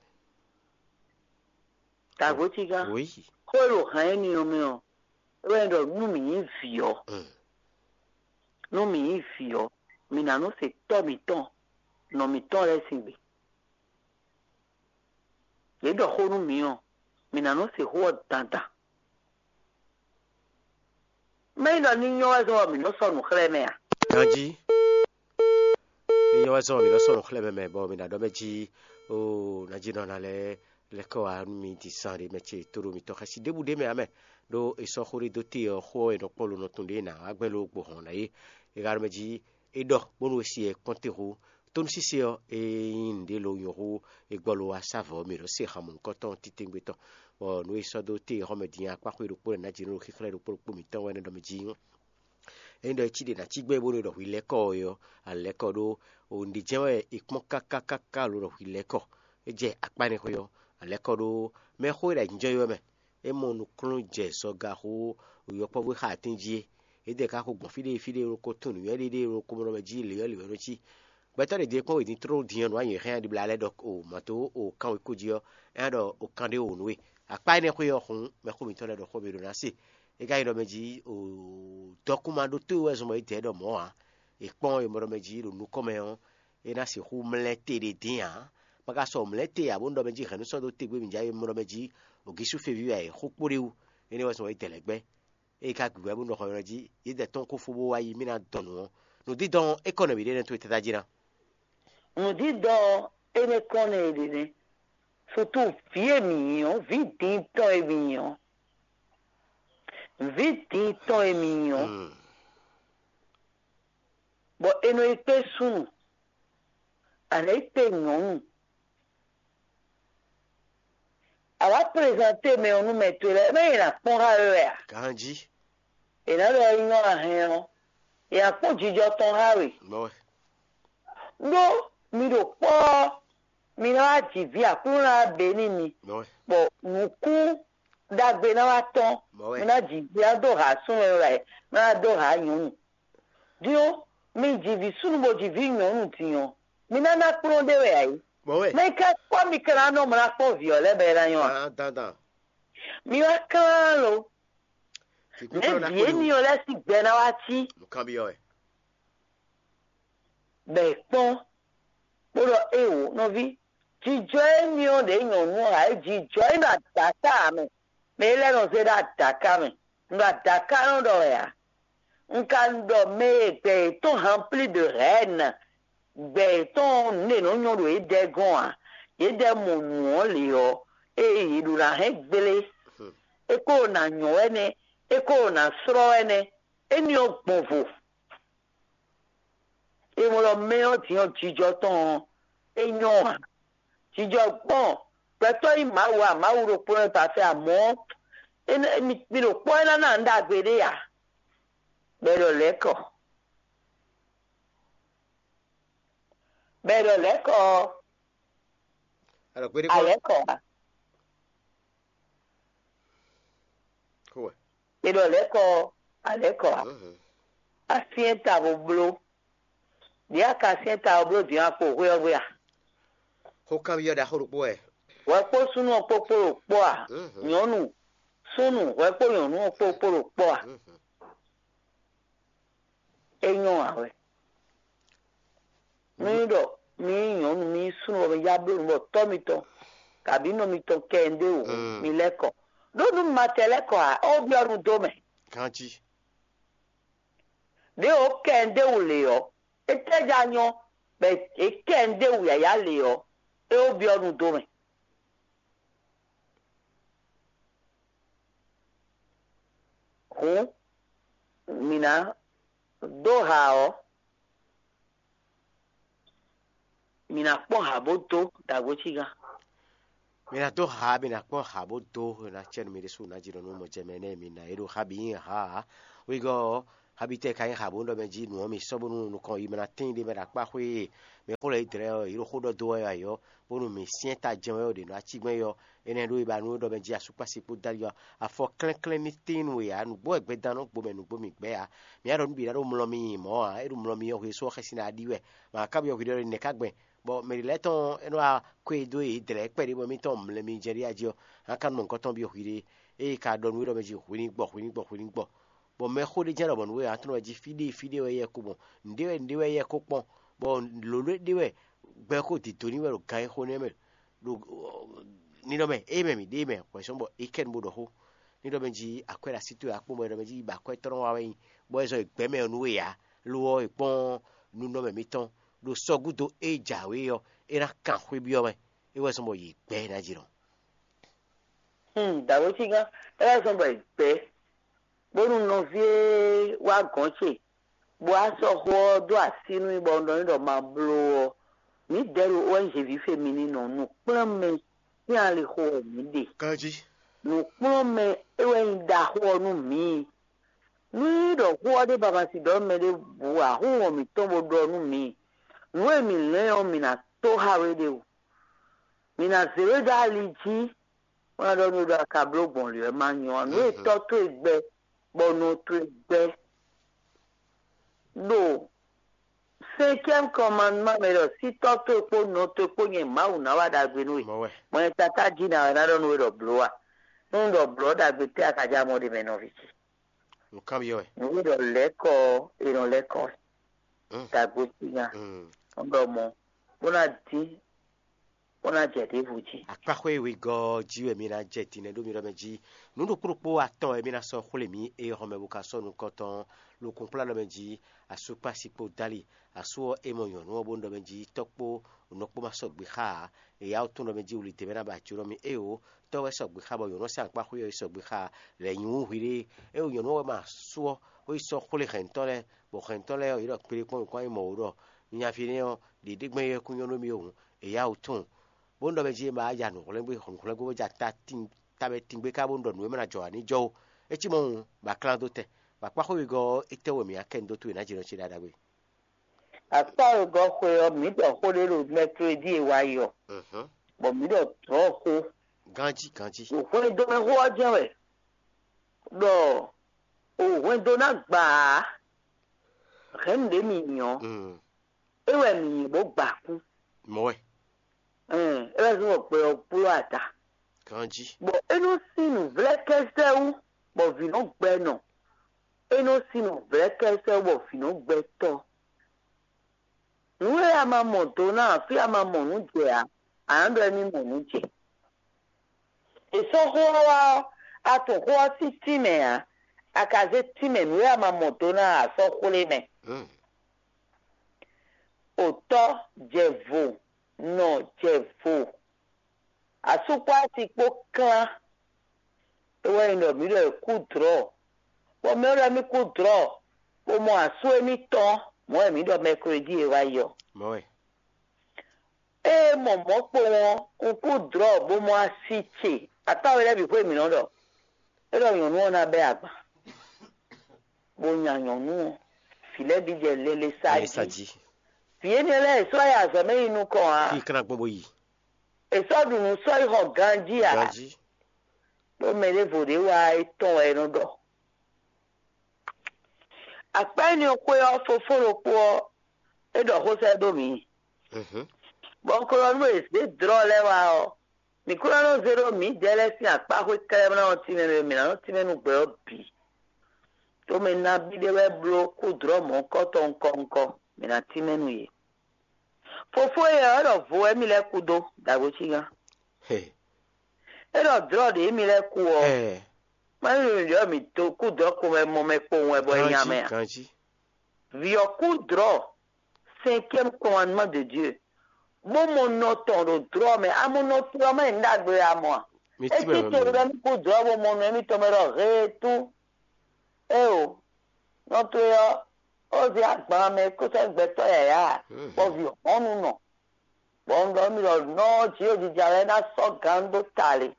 Tàgótí gán. Oui. Kó èrò hàn ẹ́ nìyẹn mɛ ɔ. É wɛ ɖɔ nú mǐ nyí vǐ ɔ. Mm. Nú mǐ nyí vǐ ɔ, mǐ ná nɔ se tɔ́ mǐtɔn nɔ mǐtɔn lɛ́ɛ sín gbe. Yě ɖɔ xó nú mǐ ɔ́, mǐ ná nɔ se xó ɔ́ dandan. Mɛ nyí ɖɔ ní nyɔ́ wɛ zɔn ɔ, mǐ nɔ sɔ́ nǔ xlɛ́ mɛ a? Ganji. Ní nyɔ́ wɛ zɔn mi lɔ sɔ́ nǔ xlɛ́ mɛ mɛ bɔ mi ná ɖɔ mɛ jí o ná jí nɔ ná lɛ́ lɛ́ kɔ wá nú mi din zan ɖé mɛ ce tó ɖo mitɔn xɛsi ɖěbǔ ɖé mɛ ǎ mɛ. Ɖó è sɔ́ xó ɖé dó te ɔ́, xó ɔ́ è nɔ kpɔ́n lo nɔ tun ɖě ná wá gbɛn ló gbo hɔn ná é. È ka ɖɔ mɛ jí é ɖɔ bónú è si ɛ kpɔ́n te hú. Tónúsísé ɔ́, é nyí nǔɖé lo nyɔ̌ hú è gbɔ lo wá sá vɔ̌ mǐ ɖɔ se han mɔ̌hunkɔtɔn titewungbe tɔn. Bɔ nǔ e sɔ́ dó te xɔmɛ din akpáxwé ɖokpó lɛ́ɛ ná jǐ nú xíxlɛ́ ɖokpó ɖokpó mǐtɔn wɛ nɛ́ ɖɔ mɛ jí. Ényí ɖɔ é cí ɖe ná cí gbɛ́ bónú è ɖɔ hwi lɛ́ kɔ ɔ́ é ɔ́, a lɛ́ kɔ ɖó o nǔɖé jɛ́n wɛ è kpɔ́n káká káká lo ɖɔ hwi lɛ́ kɔ. É jɛ akpá énɛ́ xwé ɔ́, a lɛ́ kɔ ɖó mɛxó e ɖo ayǐjínjɔ́n é wɛ mɛ. É mɔ nukúnnú jɛ zɔga xó yɔkpɔ́vú e xa atín jí é. Édɛɛ ka xo gbɔn fí ɖé fí ɖé ɖokó tún nǔnywɛ́ ɖé ɖé ɖokó mɔ ɖɔ mɛ jí lě ɔ́ lě wɛ nɔ cí. Gbɛtɔ́ ɖě ɖě kpɔ́n wědin tló din ɔ́ nǔ anyǔ xɛ́n ɖibla lɛ́ɛ ɖɔ o mǎ tó o kan wěkó jí ɔ́, é ná ɖɔ o kan ɖé o nǔ we. Akpá énɛ́ xwé ɔ́ xun mɛxó mǐtɔn lɛ́ɛ ɖɔ xó mì ɖo ná se. É ka nyí ɖɔ mɛ jí o dɔkúnma ɖótó wɛ zɔn bɔ é dɛ ɖɔ mɔ̌ ǎ. È kpɔ́n e mɔ ɖɔ mɛ jí ɖo nukɔn mɛ ɔ́, é ná sixú mlɛ́ te ɖé dín ǎ. Ma ka sɔ mlɛ́ te ǎ bónú ɖɔ mɛ jí hɛ̌nnu sɔ́ dó te gbé mǐ já é mɔ ɖɔ mɛ jí o gísú feví wɛ è xó kpó ɖé wú. Énɛ́ wɛ zɔn bɔ é dɛ lɛ̌ gbɛ́. Ée ka gbǐgbɛ́ bó nɔ xɔ nylɔ́ jí, yědɛɛ tɔn kó fó bó wá yi mì ná dɔn nǔ ɔ́, nǔdídɔn ɔ́, é kɔ nɛ̌ mǐ ɖe nɛ́ towe tátájí ná. Nǔdídɔn ɔ́, é nɛ́ kɔn nɛ è ɖe nɛ́. Sutu vǐ e mǐ nyí ɔ́, vǐ diin tɔn e mǐ nyí ɔ́, vǐ diin tɔn e mǐ nyí ɔ́, Mm. bɔ è nɔ yi kpé súnnu, a nǎ yi kpé nyɔ̌nu. A wǎ prezanté mɛ ɔ́ nú mɛ towe lɛ́ɛ, mɛ è nǎ kpɔ́n xá we wɛ a? Ganjí. È nǎ ɖɔ é nyɔ́ a hɛn ɔ́, è nǎ kpɔ́n jijɔ tɔn xá we. Mɔ̌ wɛ. Ɖó mi ɖo kpɔ́ ɔ́, mi ná wá ji vǐ Aklúnɔ ná wá bě n'i mi, Mɔ̌ wɛ. Bɔ nǔkún ɖagbe ná wá tɔ́n. Mɔ̌ wɛ. Mi ná ji vǐ ná dó ha súnnu e wɛ, mi ná dó ha nyɔ̌nu. Din ɔ́, mi ji vǐ súnnu bó ji vǐ nyɔ̌nu din ɔ́, mi ná ná kplɔ́n ɖé wɛ ǎ é. Mɔ̌ wɛ. Mɛ ka kpɔ́ mi ka ná nɔ mlá kpɔ́n vǐ ɔ́ lɛ́ɛ bɔ é ná nyɔ́ a? Dandan. Mi wá klán lo. Vǐ kpékplɔ́ ná Nɛ̌ vǐ kpó éní ɔ́ lɛ́ sín gbɛ ná wá cí? Nǔkanbyɔ́ wɛ. Bɔ è kpɔ́n, bó ɖɔ éeǒ nɔví, jijɔ éní ɔ́ ɖě nyɔ̌nu ɔ́ ǎ é jijɔ é ɖo adǎká ǎ mɛ. Mɛ é lɛ́ɛ nɔ zé ɖó adǎká mɛ. Un ɖo adǎká nɔ ɖɔ wɛ ǎ. Un ka ɖɔ mɛ e gbɛ yětɔn hanplí de hɛ̌nna, gbɛ yětɔn nǔ e nɔ nyɔ́ ɖo yědɛɛ gɔ́n ǎ. Yědɛɛ mɔ nǔ ɔ́ lě ɔ́, ée yě ɖo ná hɛn gblé, é ko ɖo ná nyɔ́ wɛ nɛ́, é ko ɖo ná slɔ́ wɛ nɛ́. Éní ɔ́ gbɔn vo. É mɔ ɖɔ mɛ ɔ́ din ɔ́ jijɔ tɔn ɔ́, é nyɔ́ ǎ. Jijɔ gbɔn gbɛtɔ́ nyí Mawu ǎ, Mawu ɖokpó wɛ ba fɛ amɔ̌, mi ɖo kpɔ́ é ná ná nǔ ɖagbe ɖé ǎ. Bɔ è ɖɔ lɛ̌kɔ. Bɔ è ɖɔ lɛ̌kɔ ɔ́, Alɔ kpéɖé kpɔ́n. Alɛ̌kɔ ǎ. Kó wɛ. È ɖɔ lɛ̌kɔ ɔ́, alɛ̌kɔ ǎ. Mhm. Asyɛ́n ta bó bló. Ɖě a ka syɛ́n ta ɔ́ bló din akpo hwé ɔ́ gbe a? Xó kanbyɔ́ ɖaxó ɖokpó wɛ. Hwɛ kpó súnnu ɔ́ kpó kpó ɖo kpɔ́ a? Mhm. Nyɔ̌nu súnnu hwɛ kpó nyɔ̌nu ɔ́ kpó kpó ɖo kpɔ́ a? Mhm. É nyɔ́ ǎ wɛ. Mí ɖɔ mí nyí nyɔ̌nu, mí nyí súnnu bɔ mí já bló nǔ bɔ tɔ́ mitɔn kabǐ nɔ mitɔn kɛ un ɖe wǒ, mm, mi lɛ́ kɔ. Ɖó nú mi ma tɛ lɛ́ kɔ ǎ, é wó byɔ́ nu dó mɛ. Ganjí. Ɖěe wǒ kɛ un ɖe wǔ lě ɔ́, étɛ́ já nyɔ́ bɔ è kɛ un ɖe wǔ yǎyá lě ɔ́, é wó byɔ́ nu dó mɛ. Hǔn mǐ ná dó ha ɔ́, mǐ ná kpɔ́n ha bó dó ɖagbo cígán. Mi ná dó ha, mi ná kpɔ́n ha bó dó, mi ná cɛ nú mi ɖésú ná jí nɔ nú mɔ jɛ mɛ nɛ́ mi ná é ɖo ha bǐ nyi ha ǎ. Wegɔ́ ɔ́, ha bǐ tɛ ka nyí ha bó nɔ mɛ jí nǔ ɔ́ mi sɔ́ bónú nukɔn yi mɛ ná tíin ɖé mɛ ɖo akpá xwé e mɛ xó lɛ́ yi dlɛ́ ɔ́, yě ɖo xó ɖɔ dó wɛ ǎ ɔ́, bónú mi syɛ́n ta jɛ́n wɛ ɔ́ ɖě nɔ ací gbɛ́n yi ɔ́, énɛ́ ɖó yi ba nú é ɖɔ mɛ jí asúkpási kpó dali ɔ́, afɔ klɛ́nklɛ́n ní tíin nú we ǎ, nǔgbó wɛ gbɛdan nɔ gbo mɛ nǔgbó mi gbɛ́ ǎ. Mi ǎ ɖɔ nú bǐ ná ɖó mlɔ mi nyi mɔ̌ ǎ, é ɖo mlɔ mi ɔ́ hwe sɔ́ xɛsi ná ɖi wɛ. Mǎ ká byɔ́ hwi ɖɔ nɛ̌ ká gbɛn, bɔ mɛ ɖě lɛ́ɛ tɔn é nɔ wá kwé dó yě dlɛ̌ kpɛɖé bɔ émítɔn mlɛ mi jɛ ɖi ají ɔ́, há ka nɔ mɔ gɔ́ tɔn byɔ́ hwi ɖé. Ée ka ɖɔ nú we ɖɔ mɛ jí hwi ní gbɔ, hwi ní gbɔ, hwi ní gbɔ. Bɔ mɛxó ɖé jɛ́n ɖɔ mɔ̌ nú we ǎ, tlɔ́ wɛ jí fí ɖé fí ɖé wɛ yɛ ko mɔ, nǔɖé wɛ nǔɖé wɛ yɛ ko kpɔ́n, bɔ lǒ ɖé ɖé wɛ gbɛ ko dǐdó ní wɛ ɖo gan e xo nɛ́ mɛ ɖo ninɔ mɛ, ée mɛ mǐ ɖe mɛ hwɛ̌ sɔ́ bɔ é kɛ nu bó ɖɔ xó. Ní ɖɔ mɛ jí akwɛ́ ɖo así towe akpɔ́n bɔ é ɖɔ mɛ jí yi ba akwɛ́ tɔn wa wɛ nyi, bɔ é zɔ yi gbɛ̌ mɛ ɔ́ nú we ǎ, lo ɔ́, è kpɔ́n nunɔmɛ mitɔn ɖo sɔ́ gúdo e jǎwe ɔ́, é ná kan xwé byɔ́ mɛ, é wɛ zɔ́n bɔ yě gbɛ́ ná jí nɔ. Hmm, dǎwe cígán, é wɛ zɔ́n bɔ yě gbɛ́, bónú nɔví e wá gɔ̌n ce, bó wá sɔ́ xó ɔ́ dó así nú mì bɔ un ɖɔ n'i ɖɔ ma bló ɔ́, mǐdɛɛ ɖo O N G ví fe mi ní nɔ nǔ kplɔ́n mɛ sín alixo wɛ mǐ ɖe. Ganjí. Nǔkplɔ́nmɛ é wɛ nyí ɖaxó ɔ́ nú mǐ. Nú nyí ɖɔ xó ɔ́ ɖé ba ma si ɖɔ mɛ ɖěbǔ ǎ, xó wɔn mǐtɔn bó ɖɔ nú mǐ. Nǔ e mǐ lɛ́n ɔ́, mǐ ná tó xá we ɖe o. Mǐ ná zě we dó ali jí, bó ná ɖɔ nú we ɖɔ a ka bló gbɔn lě wɛ ma nyɔ ǎ. Nǔ e tɔ́ towe gbɛ, bɔ nɔ towe gbɛ ɖo cinquième commandement mɛ ɖɔ sí tɔ́ towe kpó nɔ towe kpó nyɛ Mawu ná wa ɖagbe nú we. Mɔ̌ wɛ. Mɔ nyɛ tatá jí ná wɛ ná ɖɔ nú we ɖɔ blǒ a? Nú un ɖɔ blǒ ɔ́, ɖagbe tɛ́ a ka já mɔ ɖe mɛ nɔví ce? Nǔkanbyɔ́ wɛ. Nǔ e ɖɔ lɛ̌kɔ ɔ́, è nɔ lɛ́kɔ wɛ. Mm. Dǎgbó sín nya. Mm. Un ɖɔ mɔ̌, bó ná dín bó ná jɛ ɖěvo jí. Akpáxwé wegɔ́ jí wɛ mi ná jɛ din nɛ́ ɖó mi ɖɔ mɛ jí. Nǔ ɖokpó ɖokpó atɔn wɛ mi ná sɔ́ xwlé mǐ e xɔmɛ bo ka sɔ́ nukɔn tɔn. Lokun kplá ɖɔ mɛ jí, asú kpó asi kpó dó ali. Asú ɔ́, é mɔ nyɔ̌nu ɔ́ bó ɖɔ mɛ jí, tɔ́ kpó nɔ kpó ma sɔgbe xá ǎ. È yá wú tún ɖɔ mɛ jí wuli dě mɛ ná ba jǒ nɔ mì éeǒ. Tɔ́ wɛ sɔgbe xá bɔ nyɔ̌nu ɔ́ sín akpáxwé ɔ́ yi sɔgbe xá ǎ. Lɛ̌ nyi wú hwiɖée. Éeǒ, nyɔ̌nu ɔ́ wɛ ma asú ɔ́, bó yi sɔ́ xwlé hɛ̌ntɔ́ lɛ́ɛ, bɔ hɛ̌ntɔ́ lɛ́ɛ ɔ́, yě ɖɔ kpéɖé kpɔ́n nukɔn e mɔ wǔ ɖɔ nyaví nɛ́ ɔ́, ɖě ɖé gbɛ́n yɛ́ kún nyɔ́ nú mì ó hǔn, è yá wǔ tunwun. Bónú ɖɔ mɛ jí é ma wá ya nǔhwlɛ́ngbé nǔhwlɛ́ngbé bó ja ta tíin tabɛ tíngbé ká bónú ɖɔ nǔ e mɛ ná jɔ ǎ ní jɔ ó. É cí mɔ̌ hǔn, bɔ a klán dó tɛn, bɔ akpáxwé wegɔ́ ɔ́, étɛ́ wɛ mǐ ná kɛ nu dó towe nǎ jɛ nɔ ce ɖaɖa gbe? Akpá wegɔ́ xwe ɔ́, mǐ ɖɔ xó ɖé ɖo mɛklódi e wá yi ɔ́, bɔ mǐ ɖɔ dlɔ̌ xó. Ganjí ganjí. Hwɛndo mɛ xó ɔ́ jɛ́n wɛ ɖɔ o hwɛndo ná gbǎ ǎ, hɛ̌nnu ɖě mi nyí ɔ́, é wɛ mǐ nyí bó gba kú. Mɔ̌ wɛ. Ɛn, é wɛ zɔ́n bɔ gbɛ ɔ́ bló ada. Ganjí. Bɔ é nɔ sín nǔvlɛ́kɛ́sɛ́ wú, bɔ vǐ nɔ gbɛ nɔ. É nɔ sín nǔvlɛ́kɛ́sɛ́ wú, bɔ vǐ nɔ gbɛ tɔ́. Nǔ e a ma mɔ do ná ǎ, fí a ma mɔ nǔ jɛ ǎ, ǎ nǎ ɖɔ émí mɔ nǔ jɛ. È sɔ́ xó ɔ́ wá ɔ́, a tunwun xó ɔ́ sín tínmɛ ǎ, a ka zé tínmɛ nǔ e a ma mɔ do ná ǎ sɔ́ xwlé mɛ. Otɔ́ jɛ vo, nɔ jɛ vo, asú kpó asi kpó klán. É wɛ nyí ɖɔ mǐ ɖɔ è kú dlɔ̌, bɔ mɛ ɖɔ émí kú dlɔ̌, bó mɔ asú émítɔn, mɔ̌ wɛ mǐ ɖɔ mɛklódi e wá yi ɔ́. Mɔ̌ wɛ. Ée mɔ mɔ̌ kpowun ɔ́, un kú dlɔ̌ bó mɔ asi ce. Atáwe lɛ́ɛ bǐ xwé mǐ nɔ ɖɔ. É ɖɔ nyɔ̌nu ɔ́ ná bɛ́ agban, bó nya nyɔ̌nu ɔ́, vǐ lɛ́ɛ bǐ jɛ lele sa Ɛ sa jí. Jí. Vǐ énɛ́ lɛ́ɛ è sɔ́ yi azɔ̌ mɛ yi nukɔn ǎ. Fí kan gbɔn bó yi. È sɔ́ ɖu nǔ sɔ́ yi xɔ ganjí ǎ. Ganjí. Ɖó mɛ ɖěvo ɖě wá é tɔn wɛ é nɔ ɖɔ. Akpá énɛ́ xwé ɔ́, fofó ɖokpó ɔ́, é ɖɔ xó sɛ́ dó mǐ. Mhm. Bɔ un ko ɖɔ nú è zě dlɔ̌ lɛ́ɛ wá ɔ́, mǐ ko ná nɔ zé ɖó mǐdɛɛ lɛ́ɛ sín akpáxwé kɛ́ɖɛ́ bó ná nɔ tínmɛ mɛ, mǐ ná nɔ tínmɛ nú gbɛ ɔ́ bǐ. Ɖó mɛ nabí ɖé wɛ bló kú dlɔ̌ mɔ̌hunkɔtɔn ŋkɔ ŋkɔ, mǐ ná tínmɛ nú yě. Fofó e ɔ́, é ɖɔ vo wɛ mì lɛ́ kú dó, dǎgbó cígán. He. É ɖɔ dlɔ̌ ɖě mì lɛ́ kú ɔ́, Ɛɛ, má nyí nǔɖé ɔ́, mǐ dó kú dɔ̌ ko wɛ mɔ mɛ kpowun wɛ bɔ é nya mɛ ǎ. Ganjí. Vǐ ɔ́ kú dlɔ̌, cinquième commandement de Dieu, bó mɔ nɔ tɔn ɖo dlɔ̌ mɛ. A mɔ nɔ towe ɔ́, má nyí nǔ ɖagbe wɛ a mɔ a? Mì É tí mɛ cí wɛ to mì ɖɔ mì. Ní kú dlɔ̌ bó mɔ nɔ émítɔn mɛ ɖɔ heetú. Éeǒ, nɔ towe ɔ́, ó zé agban mɛ kó sɔ́ gbɛtɔ́ yǎyá ǎ, bɔ vǐ hɔ́nnu nɔ. Bɔ un ɖɔ nú mi ɖɔ nɔ ɔ́, jǐ ɖo jija wɛ é ná sɔ́ gǎn ɖó ta lě,